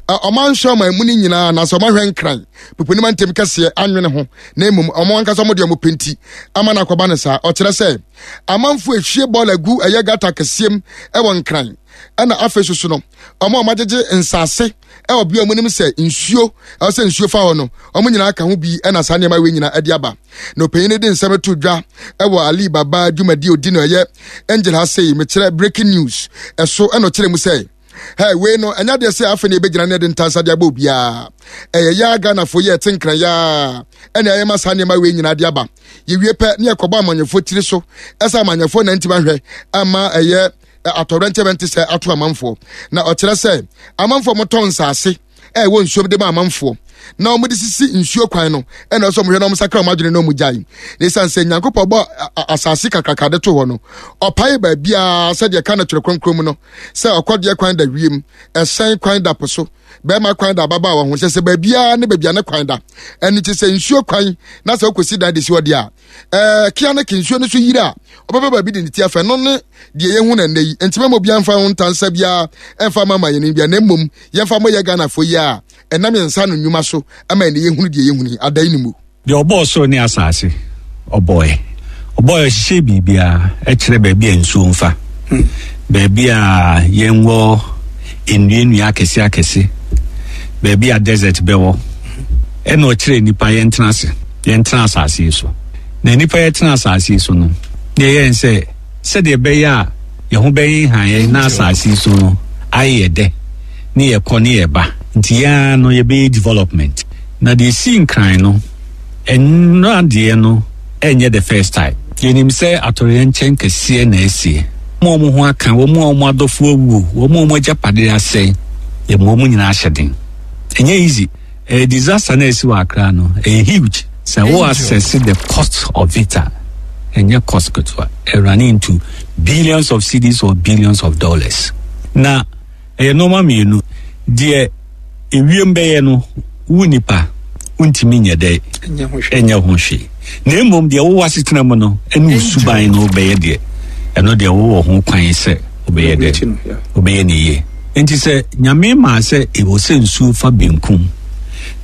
Speaker 1: ɔmo anhwɛ ɔmo emu no nyinaa anaasɛ ɔmo ahwɛ Nkran pupunim ntɛm kɛseɛ anwene ho na mmom ɔmo ankasa ɔmo deɛ ɔmo pɛ nti ama no akɔba no saa. Ɔkyerɛ sɛ amanfoɔ ehwie bɔɔl agu ɛyɛ gata kɛseɛ mu ɛwɔ Nkran ɛna afei soso no ɔmo a ɔmo agyegye nsaase ɛwɔ bea ɔmo nim sɛ nsuo ɛwɔ sɛ nsuo fa hɔ no ɔmo nyinaa ka ho bi ɛna saa nneɛma wei nyinaa ɛde aba. Na ɔpanyin de nsɛm to dwa ɛwɔ Ali Baba dwumadi odi no ɛyɛ Angel ha sei mekyerɛ breaking news ɛso ɛna ɔkyerɛ mu sɛ hey wei no ɛnya deɛ sɛ afei na ebɛgyina ne de ntansa de abɔ obiara ɛyɛ yaa Ghanafoɔ yɛ ɛte Nkran yaa ɛna ɛyɛ ma saa nneɛma wei nyinaa de aba. Yɛwie pɛ ne yɛkɔbɔ amanyɔfoɔ tiri so ɛsɛ amanyɔfoɔ na ntoma hwɛ ama ɛyɛ atɔrɛnkyɛbɛnte sɛ ato amanfoɔ. Na ɔkyerɛ sɛ amanfoɔ motɔn nsaase ɛwɔ nsuo de ma amanfoɔ na wɔn de sisi nsuo kwan no ɛna ɔsɛ wɔn hwɛ na wɔn sakra wɔn adwene na wɔn gyae. Na esan sɛ Nyankopɔn bɔ asase kakraka de to hɔ no ɔpae baabiara sɛdeɛ ka no twerɛ kronkron mu no sɛ ɔkɔdeɛ kwan da wiem ɛhyɛn kwan da po so bɛrima kwan da ababaawa ho kyɛ sɛ baabiara ne baabia ne kwan da. Ɛno ti sɛ nsuo kwan na sɛ wokɔsi dan de si hɔ deɛ a ɛɛ kia ne ke nsuo no so yiri a ɔbɛbɛ baabi de ne ti afɛ no ne deɛ yɛhu na nnɛ yi. Nti mɛma obiara mfa ho ntansa biara ɛmfa ma ma yɛn bia na mmom yɛmfa mmɔ yɛ Ghanafoɔ yi a ɛnam yɛn nsa no nnwuma so ama ɛne yɛhunu deɛ yɛhunu yi adan ne mu.
Speaker 6: Deɛ ɔbɔɔ soro ne asase ɔbɔɛ ɔbɔɛ ɔhyehyɛ biribiara ɛkyerɛ baabi a nsuo mfa baabi a yɛnwɔ nnua nnua akɛse akɛse baabi a desert bɛwɔ ɛna ɔkyerɛ nipa yɛntena ase yɛntena asase yi so. Na nipa yɛtena asase yi so no na yɛyɛ sɛ sɛdeɛ ɛbɛyɛ a yɛn ho bɛyɛ han na asase yi so no ayɛ dɛ ne yɛkɔ ne yɛba nti yɛn no yɛbɛyɛ development. Na deɛ si Nkran no ɛno adeɛ no ɛnyɛ the first time. Yɛnim sɛ atɔreyɛnkyɛn kɛseɛ na ɛsie wɔn a wɔn ho aka wɔn a wɔn adɔfoɔ awuo wɔn a wɔn agyapadeɛ asɛe yɛn wɔn nyinaa ahyɛ den. Ɛnyɛ easy. Ɛyɛ disaster na ɛsi wɔ Accra no ɛyɛ huge. Sɛ wo assess the cost of it a ɛnyɛ cost ketewa ɛrun into billions of cedis or billions of dollars. Na ɛyɛ nneɛma mmienu deɛ ewiem bɛyɛ no wo nipa wontumi nyɛ dɛ ɛnyɛ ho hwee na mmom deɛ wowɔ asetena mu no ɛne wo suban no bɛyɛ deɛ ɛno deɛ wowɔ ho kwan sɛ wobɛyɛ dɛ wobɛyɛ ne yie. Nti sɛ Nyame maa sɛ ɛwɔ sɛ nsuo fa benkum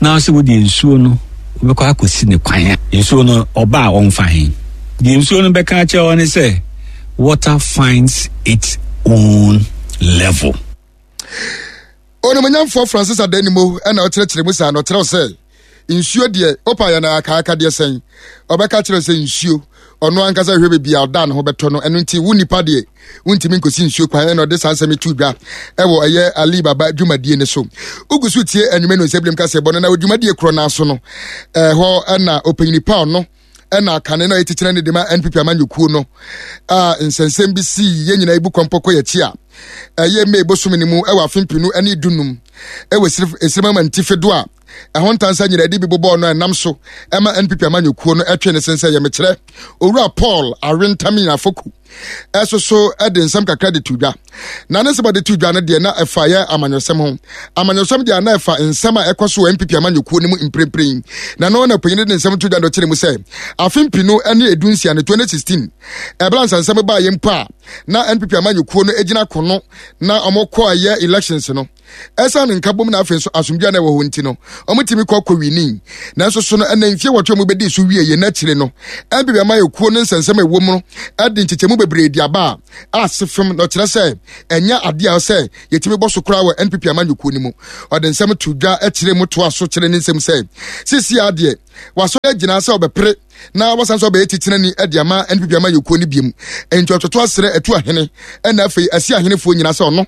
Speaker 6: na sɛ wode nsuo no wobɛkɔ akɔsi ne kwan a nsuo no ɔba a ɔmfa he deɛ nsuo no bɛka akyerɛ wɔ ne sɛ water finds its own level.
Speaker 1: Onimonyamfoɔ Francis Adanimo ɛna ɔkyerɛkyerɛ mu saa na ɔkyerɛw sɛ Nsuo deɛ, wopa yɛ no akaaka deɛ sɛn, ɔbɛka kyerɛ sɛ nsuo ɔno ankasa hwɛ baabi a ɔda ne ho bɛtɔ no. Ɛno nti wo nipa deɛ wontumi nkɔsi nsuo kwan. Ɛna ɔde saa nsɛm to dwa ɛwɔ ɛyɛ Ali Baba dwumadie no so. Wogu so tie anwuma no nsɛm binom kasɛ bɔ no na dwumadie korɔ no so no, ɛhɔ ɛna ɔpanyini pa ɔno ɛna akane na ɛtitire ne de ma N P P amanyɔkuo no a nsɛnsɛm bi sii yɛn nyinaa ibu kɔmpɔ kɔ yɛkyi a ɛyɛ May bosom ne mu ɛwɔ afe mpinu ɛne dunum ɛwɔ esirima ntifi do a ɛho ntansa nyinaa de bi bobɔɔ no ɛnam so ɛma N P P amanyɔkuo no ɛtwe ne sensɛ yɛ mekyerɛ owura Paul Awentami Afoku ɛso so ɛde nsɛm kakra de to dwa. Na ne nsɛm de to dwa no deɛ na ɛfa yɛ amanyɔsɛm ho. Amanyɔsɛm deɛ na ɛfa nsɛm a ɛkɔ so wɔ N P P amanyɔkuo no mu mprempren. Na no na panyin de nsɛm to dwa no kyerɛ mu sɛ afe mpinu ne edu nsia no twenty sixteen ɛbla nsansɛm baa yɛ mpo a na N P P amanyɔkuo no gyina kono na ɔmo kɔ ɛyɛ elections no. Ɛsan ne nkabom na afei nso asomdwa na ɛwɔ hɔ nti no ɔmo tumi kɔ kɔwini. Nanso so no ɛna mfie wɔtwe ɔmo bɛdi so wie yɛ n'akyire no N P P amanyɔkuo no nsɛnsɛm a ɛwɔ mu no ɛde nkyekyɛmu bebree di aba a ase fam na ɔkyerɛ sɛ ɛnyɛ adeɛ a sɛ yɛtumi bɔ so koraa wɔ N P P amanyɔkuo no mu. Ɔde nsɛm to dwa akyire mu toa so kyerɛ ne nsɛm sɛ sisi adeɛ wasɔre agyina sɛ ɔbɛpere na wasan so ɔbɛyɛ titenani ɛde ama N P P amanyɔkuo no biem. Enti ɔtoto asrɛ ɛtu ahene ɛna afei asi ahenefoɔ nyinaa sɛ ɔno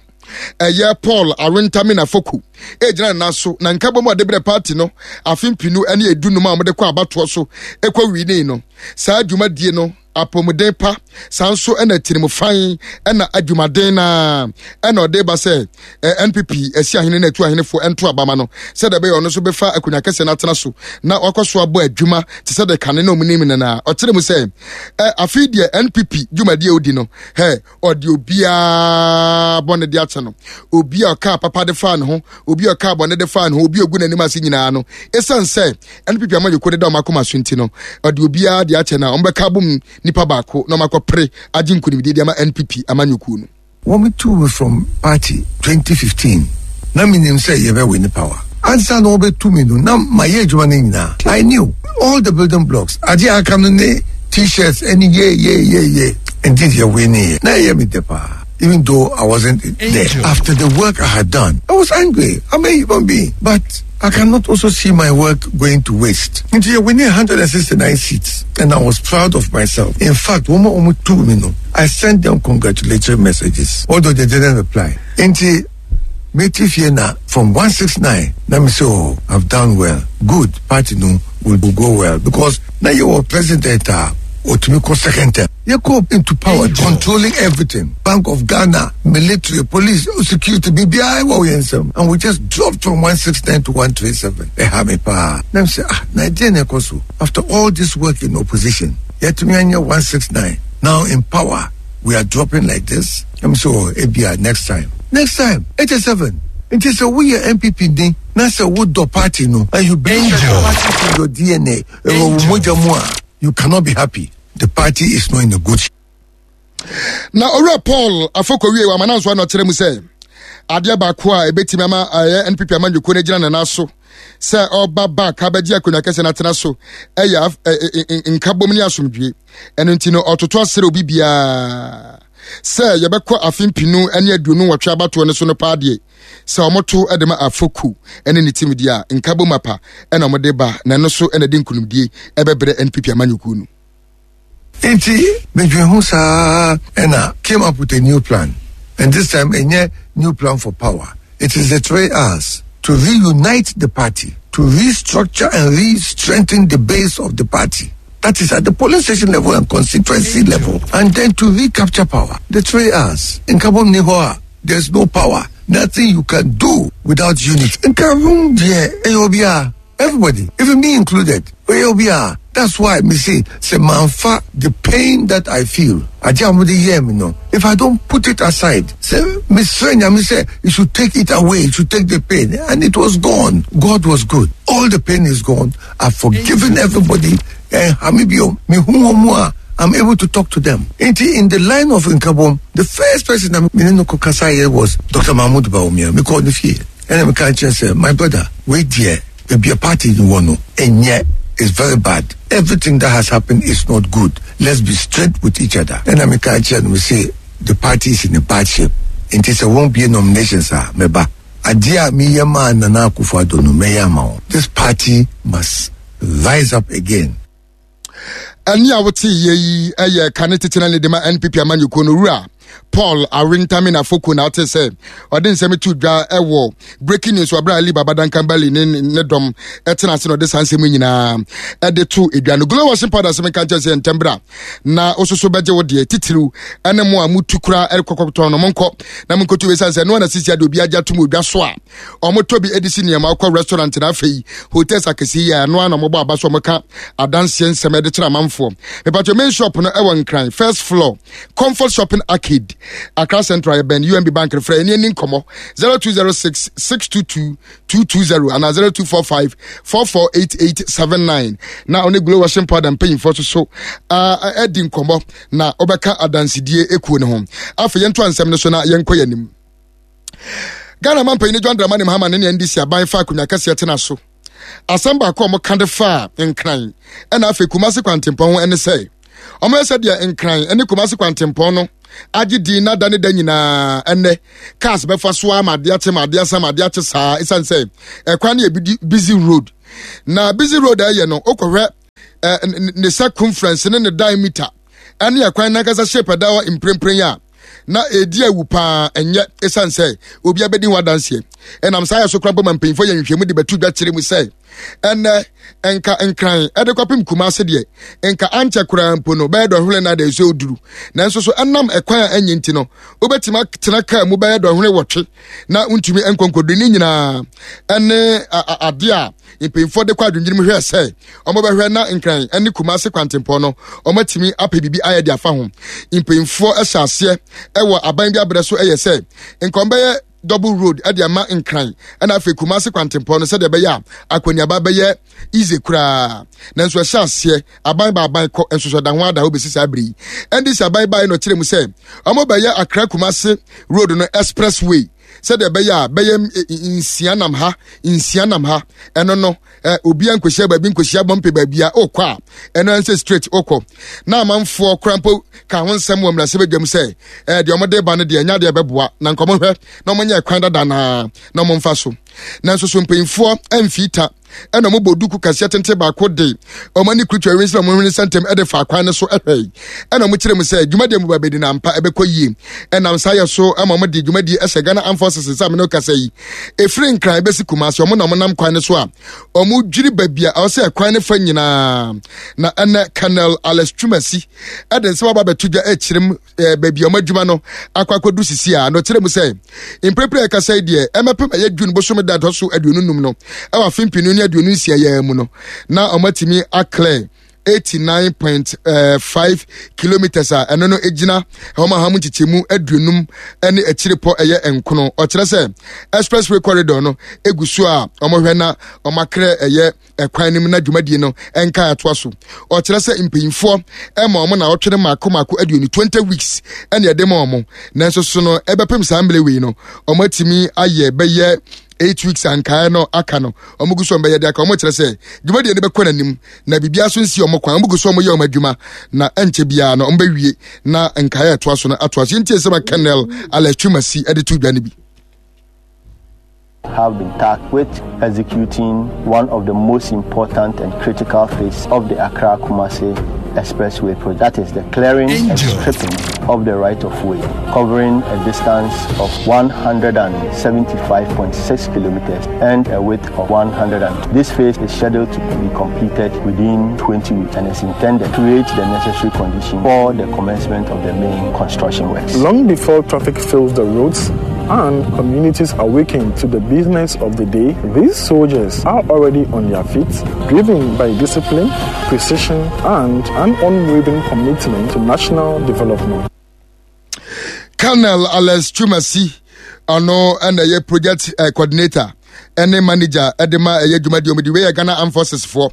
Speaker 1: ɛyɛ Paul Awentami Afoku egyina ne nan so na nkabom a ɔde brɛ party no afe mpinu ne edunum a wɔde kɔ abatoɔ so ekɔ wini no. Saa dwumadie no apɔmuden pa saa nso ɛna tirimfan ɛna adwumaden na ɛna ɔde ba sɛ N P P asi ahene na atu ahenefoɔ ɛnto abama no sɛdeɛ ɛbɛyɛ ɔno nso bɛfa akonnwa kɛseɛ no atena so na wakɔ so abɔ adwuma te sɛ deɛ kane na ɔmo nim no. Na ɔkyerɛ mu sɛ afei deɛ N P P dwumadie a odi no hɛ ɔde obiara bɔne de akyɛ no, obi a ɔka papa de fa ne ho, obi a ɔka bɔne de fa ne ho, obi a ogu n'anim ase nyinaa no, ɛsiane sɛ N P P amanyɔkuo deda ɔmo akoma so nti no ɔde obiara de akyɛ na ɔmo bɛka abom nipa baako na ɔmo akɔpere agye nkonimdie de ama N P P amanyɔkuo no.
Speaker 7: Wɔn tu me from party twenty fifteen na minim sɛ yɛbɛ win power. Ansa na wɔbɛtu me no na mayɛ adwuma no nyinaa. I knew all the building blocks. Adeɛ aka no ne t-shirts ɛne ye ye ye ye. Indeed yɛ win yɛ. Na ɛyɛ me dɛ paa. Even though I wasn't there. After the work I had done, I was angry. I'm a human being. But I cannot also see my work going to waste. Nti we need one hundred sixty-nine seats, and I was proud of myself. In fact, one more two me I sent them congratulatory messages, although they didn't reply. Nti meti fie na from one sixty-nine, let me say, oh, I've done well. Good, party no will go well because now you were president. Uh, otumi kɔ second term. You go into power, controlling everything. Bank of Ghana, military, police, security, B B I, and we just dropped from one sixty-nine to one twenty-seven. Ɛha me paa. Na sɛ, ah, Nigeria na so. After all this work in opposition, yet me one sixty-nine. Now in power, we are dropping like this. I'm so, oh, A B I next time. Next time, eighty-seven. It is a we are N P P D. Now say what the party no, and you bring the party to your D N A. You cannot be happy. The party is not in a good shape.
Speaker 1: Na Owura Paul Afoku wie wa mananso na ɔkyerɛ mu sɛ adeɛ baako a ebetimi ama ayɛ N P P amanyɔkuo no gyina ne nan so sɛ ɔba back abɛgye akonnwa kɛse na atena so ɛyɛ nkabom ne asomdwie. Ɛno nti no ɔtoto asere obi biara sɛ yɛbɛkɔ afe mpinu ne aduonu nwɔtwe abatoɔ no so no paa deɛ sɛ ɔmoto de ma Afoku ne ne tim deɛ a nkabom apa ɛna ɔmode ba na ɛno so ɛna de nkonimdie ɛbɛbrɛ N P P amanyɔkuo no.
Speaker 7: Nti medwen ho saa ɛna came up with a new plan, and this time a new plan for power. It is the three R's: to reunite the party, to restructure and re-strengthen the base of the party. That is at the polling station level and constituency level. And then to recapture power. The three R's. In Kabom Nihoa, there's no power. Nothing you can do without unity. In Kabom, yeah, A O B R, everybody, even me included. A O B R. That's why me say, say manfa, the pain that I feel. If I don't put it aside, say, Miss Frenya, me say, you should take it away, you should take the pain. And it was gone. God was good. All the pain is gone. I've forgiven everybody. Eh, I'm able to talk to them. In the line of Nkabom, the first person that me no was Doctor Mahmoud Bawumia. Me called the And I can't say, my brother, wait here. There be a party in Wano. And yet, it's very bad. Everything that has happened is not good. Let's be straight with each other. And I'm a we say the party is in a bad shape. And there won't be a nomination, sir. Meba. Adeɛ a meyɛ maa Nana Akufo-Addo no, mɛyɛ ama wo. This party must rise up again.
Speaker 1: Ɛne a wote yɛ yi yɛ kane titena ne de ma N P P amanyɔkuo no, wura Paul Awentame Nafoko, na ate sɛ ɔde nsɛm to dwa ɛwɔ breaking news wabra Ali Baba Duncan Bali ne ne dɔm ɛtena ase na ɔde saa nsɛm nyinaa ɛde to edwa no. Glow washing powder sɛ meka nkyɛn sɛ ntɛm bra na ososo bɛgye wo deɛ titiriw ɛne mo a mutu kura ɛrekɔkɔtɔn no, monkɔ na monkɔtu ɛsiane sɛ ɛno ana sisi ade obi agye atom odwa so a ɔmotɔ bi ɛde si nneɛma wokɔ restaurant na afei hotels akɛseɛ yi a ɛno ana ɔmobɔ aba so, ɔmoka adanseɛ nsɛm ɛde kyerɛ amanfoɔ. Mepatwa, main shop no ɛwɔ Nkran, first floor, Comfort Shopping Arcade, Accra Central, yɛbɛn U M B Bank. Frɛ ɛne ani nkɔmmɔ zero two zero six six two two two two zero anaa zero two four five four four eight eight seven nine na ɔne Glow washing powder mpanyinfoɔ so so adi nkɔmmɔ na ɔbɛka adansedie ekuo ne ho. Afei yɛnto ansɛm no so na yɛnkɔ yɛn anim. Ghana man panyin John Dramani Mahama ne ne N D C aban fa akonnwa kɛseɛ tena so, asɛm baako a wɔka de fa Nkran ɛna afei Kumasi kwantempɔn ho ɛne sɛ wɔn sɛ deɛ Nkran ɛne Kumasi kwantempɔn no agye din na da ne da nyinaa ɛnɛ cars bɛfa so ama adeɛ akye ma adeɛ asa ma adeɛ akye saa, ɛsiane sɛ ɛkwan no yɛ busy road. Na busy road a ɛyɛ no, wokɔhwɛ ɛ ne circumference ne ne diameter ɛne ɛkwan nankasa shape ɛda hɔ mprempren a na edi awu paa, ɛnyɛ ɛsiane sɛ obi abɛdi ho adanseɛ. Ɛnam saa yɛ so kora bɔ ma mpanyinfoɔ yɛ nhwehwɛmu de bɛtu dwa kyerɛ mu sɛ ɛnɛ nka Nkran ɛde kɔpem Kumase deɛ, nka ankyɛ koraa mpo no bɛyɛ dɔhwere na de nso oduru, nanso so ɛnam ɛkwan a ɛnyɛ nti no, wobɛtumi atena kaa mu bɛyɛ dɔhwere wɔtwe na ntumi nkɔnkɔdu. Ne nyinaa ɛne adeɛ a mpanyinfoɔ de kɔ adwendwene mu hwɛ sɛ wɔn bɛhwɛ na Nkran ɛne Kumase kwantempɔn no wɔn atumi apɛ biribi ayɛ de afa ho. Mpanyinfoɔ ɛhyɛ aseɛ ɛwɔ aban bi abrɛ so ɛyɛ sɛ nkɔm bɛyɛ double road ɛde ama Nkran ɛna afei Kumase kwantempɔn no sɛdeɛ ɛbɛyɛ a akɔneaba bɛyɛ easy koraa, nanso ɛhyɛ aseɛ aban ba aban kɔ nso so da ho ada hɔ bɛsi saa bere yi. N D C aban baa no kyerɛ mu sɛ wɔn bɛyɛ Accra Kumase road no expressway sɛdeɛ ɛbɛyɛ a bɛyɛ nsia nam ha, nsia nam ha. Ɛno no ɛ obiara nkɔhyia baabi nkɔhyia bɔmpe baabi a ɔkɔ a ɛno ɛnsɛ straight ɔkɔ. Na amanfoɔ kora mpo ka ho nsɛm wɔ mmarahyɛbadwam sɛ ɛɛ deɛ ɔmode ba no deɛ, ɛnya deɛ ɛbɛboa na nkɔmɔ hwɛ na ɔmonyɛ kwan dada naa na ɔmomfa so. Nanso so mpanyinfoɔ ɛmfii ta ɛna ɔmo bɔ duku kɛseɛ tenten baako de ɔmo ani kurutu ɛwɛn sɛ ɔmo hwene sɛntɛm ɛde fa akwan no so ɛhwɛ, ɛna ɔmo kyerɛ mu sɛ dwumadie mu ba bɛdi na ampa ɛbɛkɔ yie. Ɛnam saa yɛ so ɛma ɔmo de dwumadie ɛhyɛ Ghana Armed Forces nsa. Amene kasa yi, efiri Nkran ɛbɛsi Kumasi, ɔmo na ɔmo nam kwan no so a ɔmo dwiri baabi a ɔsɛ ɛkwan no fa nyinaa. Na ɛnɛ Colonel Alex Twumasi ɛde nsɛm aba abɛto dwa ɛkyerɛ mu ɛɛ baabi a ɔmo adwuma no akɔ akɔdu sisi a, na ɔkyerɛ mu sɛ mprepre a ɛkasa yi deɛ, ɛmɛpem ɛyɛ June bosome da ɛtɔ so aduonu num no ɛwɔ afe mpinu ne aduonu nsia yɛn mu no, na ɔmo atumi aclear eighty nine point five kilometres a ɛno no gyina wɔn aha mu nkyekyɛmu aduonum ne akyire pɔ ɛyɛ nkono. Ɔkyerɛ sɛ expressway corridor no egu so a wɔhwɛ na wɔn akrɛ ɛyɛ ɛkwan no mu na dwumadie no nka atoa so. Ɔkyerɛ sɛ mpanyinfoɔ ɛma wɔn na ɔtwere mako mako aduonu, twenty weeks, ɛna ɛde ma wɔn, nanso so no ɛbɛpem saa mmerɛ wei no, wɔn atumi ayɛ bɛyɛ eight weeks ankae no aka no, wɔn gu so wɔn bɛyɛ de aka. Wɔn kyerɛ sɛ dwumadie no bɛkɔ n'anim na biribiara so nsi wɔn kwan. Wɔn gu so wɔn yɛ wɔn adwuma na ɛnkyɛ biara no wɔn bɛwie na nkae a ɛtoa so no atoa so. Yɛntie sɛ Colonel Alex Twumasi ɛde to dwa no bi.
Speaker 8: Have been tasked with executing one of the most important and critical phases of the Accra Kumasi Expressway project. That is the clearing and stripping of the right of way, covering a distance of one hundred seventy-five point six kilometers and a width of one hundred. And this phase is scheduled to be completed within twenty weeks and is intended to create the necessary condition for the commencement of the main construction works.
Speaker 9: Long before traffic fills the roads and communities awaken to the business of the day, these soldiers are already on their feet, driven by discipline, precision, and an unwavering commitment to national development.
Speaker 1: Colonel Alex Twumasi, ɔno ɛna ɛyɛ project uh, coordinator ɛne manager ɛde ma ɛyɛ dwumadie ɔmo de wei yɛ Ghana Armed Forces foɔ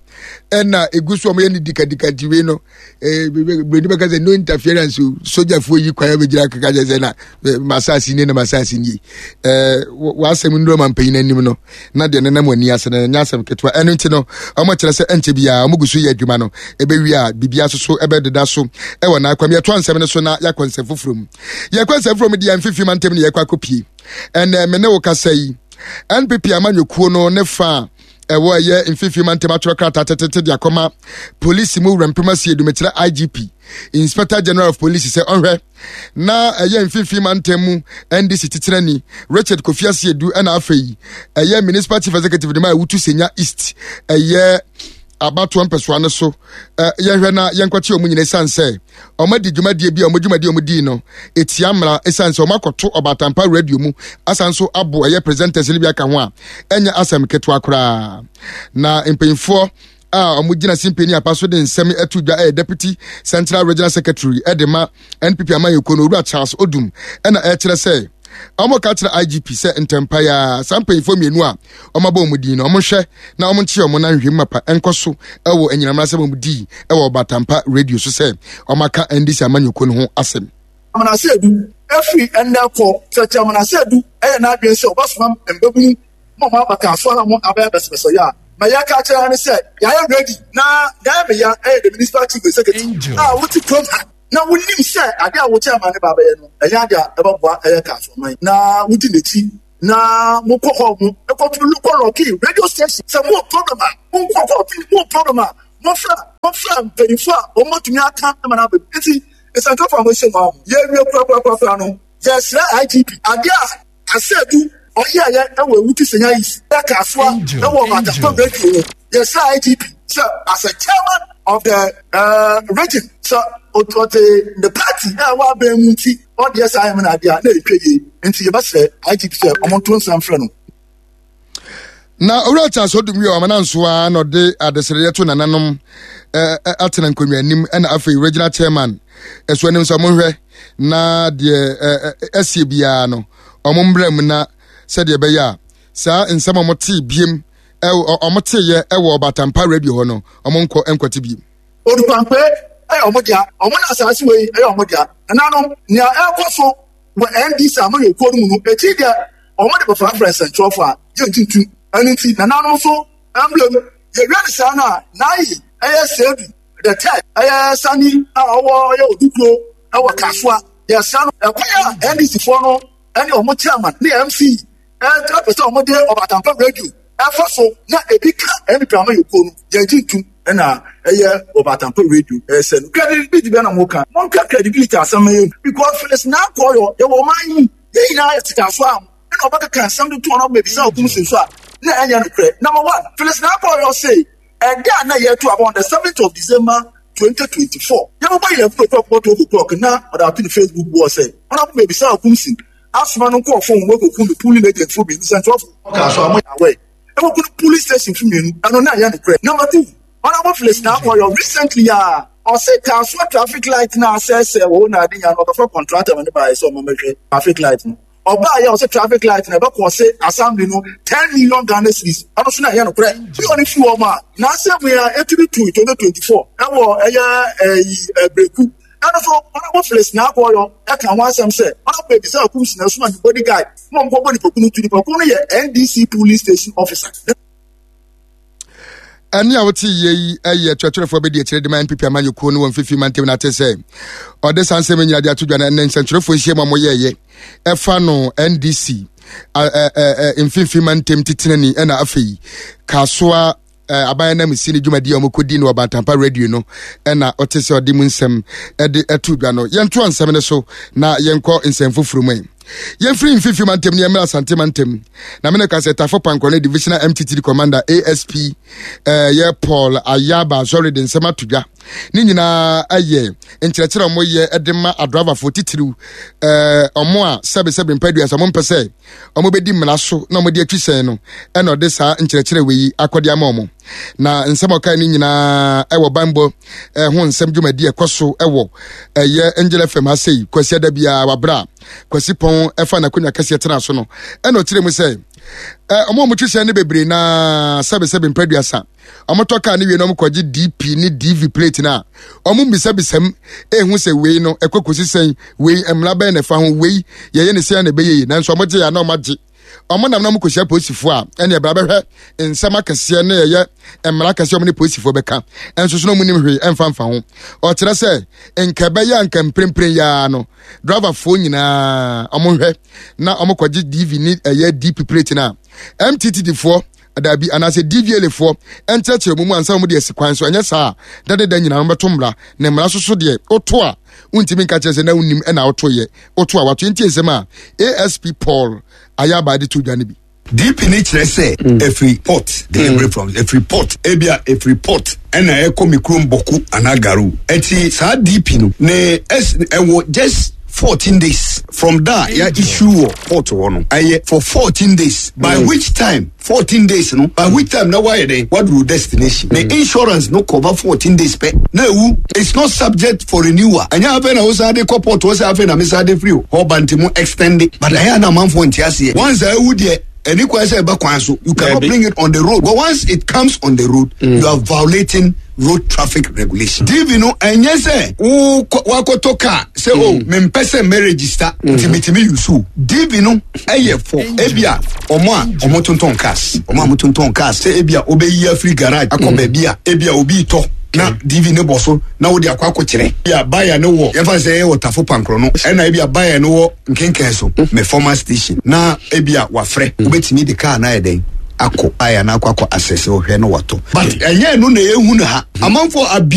Speaker 1: ɛna egu so ɔmo yɛ ne dikadika. Nti wei no ɛɛ broni bɛka sɛ no interference o. Sogyafoɔ yi kwan abɛgyina keka kyerɛ sɛ na masaase nie na masaase nie. ɛɛ w'asɛm nnuro ma mpanyin anim no na deɛ nenam wɔ ani ase no ɛnyɛ asɛm ketewa. Ɛno nti no ɔmo kyerɛ sɛ ɛnkyɛ biara ɔmo gu so yɛ adwuma no, ɛbɛwie a biribiara nso so ɛbɛdeda so ɛwɔ n'akwam. Yɛtoa nsɛm no so na yɛakɔ nsɛm foforɔ mu. Yɛkɔ nsɛm foforɔ mu deɛ, mfifi mantam ne yɛkɔ akɔpie. Ɛnɛ me ne wo kasa yi N P P amanyɔkuo no ne fa ɛwɔ ɛyɛ Mfimfini Mantam atwerɛ krataa tetete de akɔma polisi mu wura mpem asie dumekyerɛ I G P, Inspector General of Police, sɛ ɔhwɛ na ɛyɛ Mfimfini Mantam mu N D C titenani Richard Kofi Asiedu, ɛna afei ɛyɛ Municipal Chief Executive de ma Awutu Senya East ɛyɛ abatoɔ mpɛsoa no so, yɛhwɛ na yɛnkɔkye ɔmo nyina, ɛsiane sɛ ɔmo adi dwumadie bi a ɔmo dwumadie a ɔmo dii no etia mmara, ɛsiane sɛ ɔmo akɔto Ɔbatampa Radio mu asan so abo ɛyɛ presenters no bi aka ho a ɛnyɛ asɛm ketewa koraa. Na mpanyinfoɔ a ɔmo gyina simpani apa so de nsɛm ɛto dwa ɛyɛ Deputy Central Regional Secretary ɛde ma N P P amayɛkuo no, Owura Charles Odum, ɛna ɛkyerɛ sɛ ɔmo ka kyerɛ I G P sɛ ntɛmpa ya saa mpanyinfoɔ mmienu a ɔmo abɔ ɔmo din no, ɔmo hwɛ na ɔmo nkye ɔmo na nhwɛ mu mapa nkɔ so ɛwɔ anyinam asɛm ɔmo dii ɛwɔ Ɔbatampa Radio so sɛ ɔmo aka N D C amanyɔkuo no ho asɛm.
Speaker 5: Amanase Edu efiri ɛnɛ kɔ sɛkyɛ Amanase Edu ɛyɛ n'adwene sɛ ɔbɛsoma mbɛbunu ma ɔmo aba Kasoa na ɔmo abɛyɛ bɛsɛbɛsɛ yɛ a ma yɛ ka kyerɛ ne sɛ yɛayɛ ready. Na deɛ meya ɛyɛ the Municipal Chief Executive a wote kurom ha na wonim sɛ ade a wokyɛ ama ne ba bɛyɛ no ɛnyɛ ade a ɛbɛboa ɛyɛ Kasoa man na wodi n'akyi na mokɔ hɔ mo ɛkɔto kɔ lock radio station sɛ mo problem a monkɔ kɔ mo problem a mofra mofra mpanyinfo a wɔn bɛtumi aka ama no aba. Nti nsɛntɔfo a mohyɛ mu a yɛwie korakorakora no, yɛsrɛ I G P ade a Asɛdu ɔyɛɛyɛ ɛwɔ Ewutu Senya East ɛka Asoa ɛwɔ Ɔbatampa Radio no, yɛsrɛ I G P sɛ as a chairman of the uh, region, sɛ ɔte the party a ɛwɔ abɛn mu nti ɔdeɛ saa ɛmu na adeɛ a na etwa yie, nti yɛbɛsrɛ I G P sɛ ɔmo nto nsa mfrɛ no.
Speaker 1: Na Owura Charles Odum yɛ ɔmana nso a na ɔde adesrɛdeɛ to nananom atena nkonnwa anim, ɛna afei regional chairman ɛso anim sɛ ɔmo na deɛ ɛsie biara no ɔmo mbrɛ mu, na sɛdeɛ ɛbɛyɛ a saa nsɛm a ɔmo tee biem, ɔmo teeɛ ɛwɔ Ɔbatampa Radio hɔ no, ɔmo nkɔ nkɔte biem.
Speaker 5: Odupampe ɛyɛ ɔmo dea, ɔmo na asase wei ɛyɛ ɔmo dea. Nananom, nea ɛkɔ so wɔ N D C amayɛ kuo no mu no, ekyi deɛ ɔmo de bɛfrafra nsɛntwerɛfo a gye ntuntum. Ɛno nti nananom nso emblem yɛwia ne saa no a n'ayi ɛyɛ Seedu the Third, ɛyɛ Sani a ɔwɔ ɛyɛ Odukuro ɛwɔ Kasoa. Yɛsra no, ɛkwan a N D C foɔ no ɛne ɔmo chairman ne M C ɛpɛ sɛ ɔmo de Ɔbatampa Radio ɛfa so na ebi ka N P P amayɛ kuo no, yɛn gye ntum. Ɛna ɛyɛ Ɔbatampa Radio ɛyɛ sɛ no credibility bɛ na mo ka, mo nka credibility asɛm yɛ, because Phyllis Naa Koryoo yɛwɔ ɔman yi yɛn nyinaa yɛ tete aso a ɛna ɔbɛkeka nsɛm de to ɔno bɛbisa ɔkum si so a na ɛnyɛ nokorɛ. Number one, Phyllis Naa Koryoo say ɛda a na yɛto aba on the seventh of December twenty twenty four, yɛbɛbɔ yɛn eleven o'clock, twelve o'clock, na ɔde ato ne Facebook boɔ sɛ ɔnabɔ bɛbisa ɔkum si asoma no nkɔɔ phone wɔkɔku ne polling agent fo mmienu. Sɛntwerɛfo ɔka so a mo yɛ awɛ ɛwɔku no polling station fo mmienu, ɛno na ɛyɛ nokorɛ. Number two, Honourable Phyllis Naa Koryoo recently a ɔse Kasoa traffic light na asɛesɛ wɔ na ade nya no, ɔkɔfɛ contractor ma ne baayɛ sɛ ɔma mɛhwɛ traffic light no. Ɔbaa yɛ ɔsɛ traffic light na ɛbɛkɔ ɔsɛ assembly no ten million Ghana cedis, ɛno so na ɛyɛ nokorɛ bi. Ɔne fi wɔn a n'asɛm yɛ etumi tu twenty twenty four ɛwɔ ɛyɛ ɛyi ɛbreku, ɛno so Honourable Phyllis Naa Koryoo ɛka ho asɛm sɛ Honourable Ebisa Akum si na ɛsoma ne bodyguard mo nkɔbɔ nipaku no tu. Nipaku no yɛ N D C polling station officer.
Speaker 1: Ɛne a wote yie yi yɛ kyerɛkyerɛfoɔ bɛdi akyerɛ de ma N P P amanyɔkuo no wɔ Mfifi Mantam no ate sɛ ɔde saa nsɛm nyina de ato dwa no. Ɛnɛ nsɛntwerɛfoɔ nhyia mu a moyɛɛyɛ ɛfa no N D C Mfimfini Mantam titenani, ɛna afei Kasoa aban nam si ne dwumadi a wɔkɔdi no Ɔbatampa Radio no, ɛna ɔte sɛ ɔde mu nsɛm ɛde ɛto dwa no. Yɛntoa nsɛm no so na yɛnkɔ nsɛm foforɔ mu. Yɛmfiri Mfimfini Mantam ne yɛmmra Asante Mantam, na mene ka sɛ Tafo Pankɔ no Divisional M T T D Commander A S P eh, yɛ Paul Ayaba Asɔre de nsɛm ato dwa. Ne nyinaa ɛyɛ nkyerɛkyerɛ a wɔyɛ de ma adraivafoɔ titiriw, ɛɛ ɔmo a sɛbesɛbe mpadua sɛ ɔmo mpɛ sɛ ɔmo bɛdi mmara so na ɔmo de atwi sɛn no, ɛna ɔde saa nkyerɛkyerɛ wei yi akɔde ama ɔmo. Na nsɛm a ɔkae no nyinaa ɛwɔ banbɔ ɛho nsɛm dwumadi ɛkɔ so ɛwɔ ɛyɛ Angel F M ha sei Kwasi ada biara wabra Kwasi Pɔn ɛfa n'akonnwa kɛseɛ tena so no, ɛna ɔkyerɛ mu sɛ ɛ ɔmo a ɔmo twi sɛn no bebree naa sɛbesɛbe mpadua ɔmo tɔ kaa ne wie na ɔmo kɔgye D P ne D V plate na ɔmo mbisabisam ehu sɛ wei no ɛkɔ kɔsi sɛn, wei mmara bɛn na ɛfa ho, wei yɛyɛ ne sɛn na ɛbɛyɛ yi. Nanso ɔmo gye ya na ɔmo agye, ɔmo nam na ɔmo kɔhyia polisifoɔ a ɛne ɛbra bɛhwɛ nsɛm akɛseɛ ne ɛyɛ mmara akɛseɛ ɔmo ne polisifoɔ bɛka, ɛnso so na ɔmo nim hwee ɛmfa mfa ho. Ɔkyerɛ sɛ nka ɛbɛyɛ a nka mprempren yaa no driverfoɔ nyinaa ɔmo hwɛ na ɔmo kɔgye D V ne ɛyɛ D P plate na M T T D foɔ daabi anaasɛ D V L A foɔ ɛnkyerɛkyerɛ mu mu ansa wɔn de asi kwan so. Ɛnyɛ saa a, dadeda nyinaa wɔbɛto mmara na mmara soso deɛ woto a, wontumi nka kyerɛ sɛ na wonim ɛna wotoyɛ. Woto a, wato. Nti nsɛm a A S P Paul Ayaba de to dwa no bi.
Speaker 10: D P ne kyerɛ sɛ ɛfiri port, delivery from ɛfiri port, ebia ɛfiri port ɛna ɛkɔ mi kurom Bɔku anaa Garu. Ɛti saa D P no ne ɛs ɛwɔ just fourteen days from there ya issue wɔ port hɔ no, ɛyɛ for fourteen days, by which time fourteen days no, by which time na wayɛ dɛn waduru destination. Ne insurance no cover fourteen days pɛ na ewu. It's not subject for renewal. Ɛnyɛ afei na wosan de kɔ port wɔ sɛ afei na mesan de firi hɔ ba nti mu extend it, but ɛyɛ ana amanfoɔ nte aseɛ. Once a ewu deɛ, ɛni kwan sɛ ɛbɛ kwan so. You cannot bring it on the road, but once it comes on the road, mm. you are violating road traffic regulation. D V no, ɛnyɛ sɛ wo wakɔtɔ car sɛ o mempɛ sɛ mɛ register nti metumi use o. D V no ɛyɛ for ebia ɔmo a ɔmo tontɔn cars, ɔmo a ɔmo tontɔn cars, sɛ ebia obɛyi afiri garage akɔ baabi a ebia obi tɔ na D V ne bɔ so na wode akɔ akɔkyerɛ. Ebia buyer ne wɔ, yɛmfa sɛ ɛyɛ wɔ Tafo Pankorɔ no, ɛna ebia buyer ne wɔ Nkenken so me former station, na ebia wafrɛ, wobɛtumi de car na ayɛ dɛn akɔ buyer na akɔ akɔ asɛsɛ ɔhwɛ na watɔ, but ɛnyɛ no na yɛhu no ha amanfoɔ abi.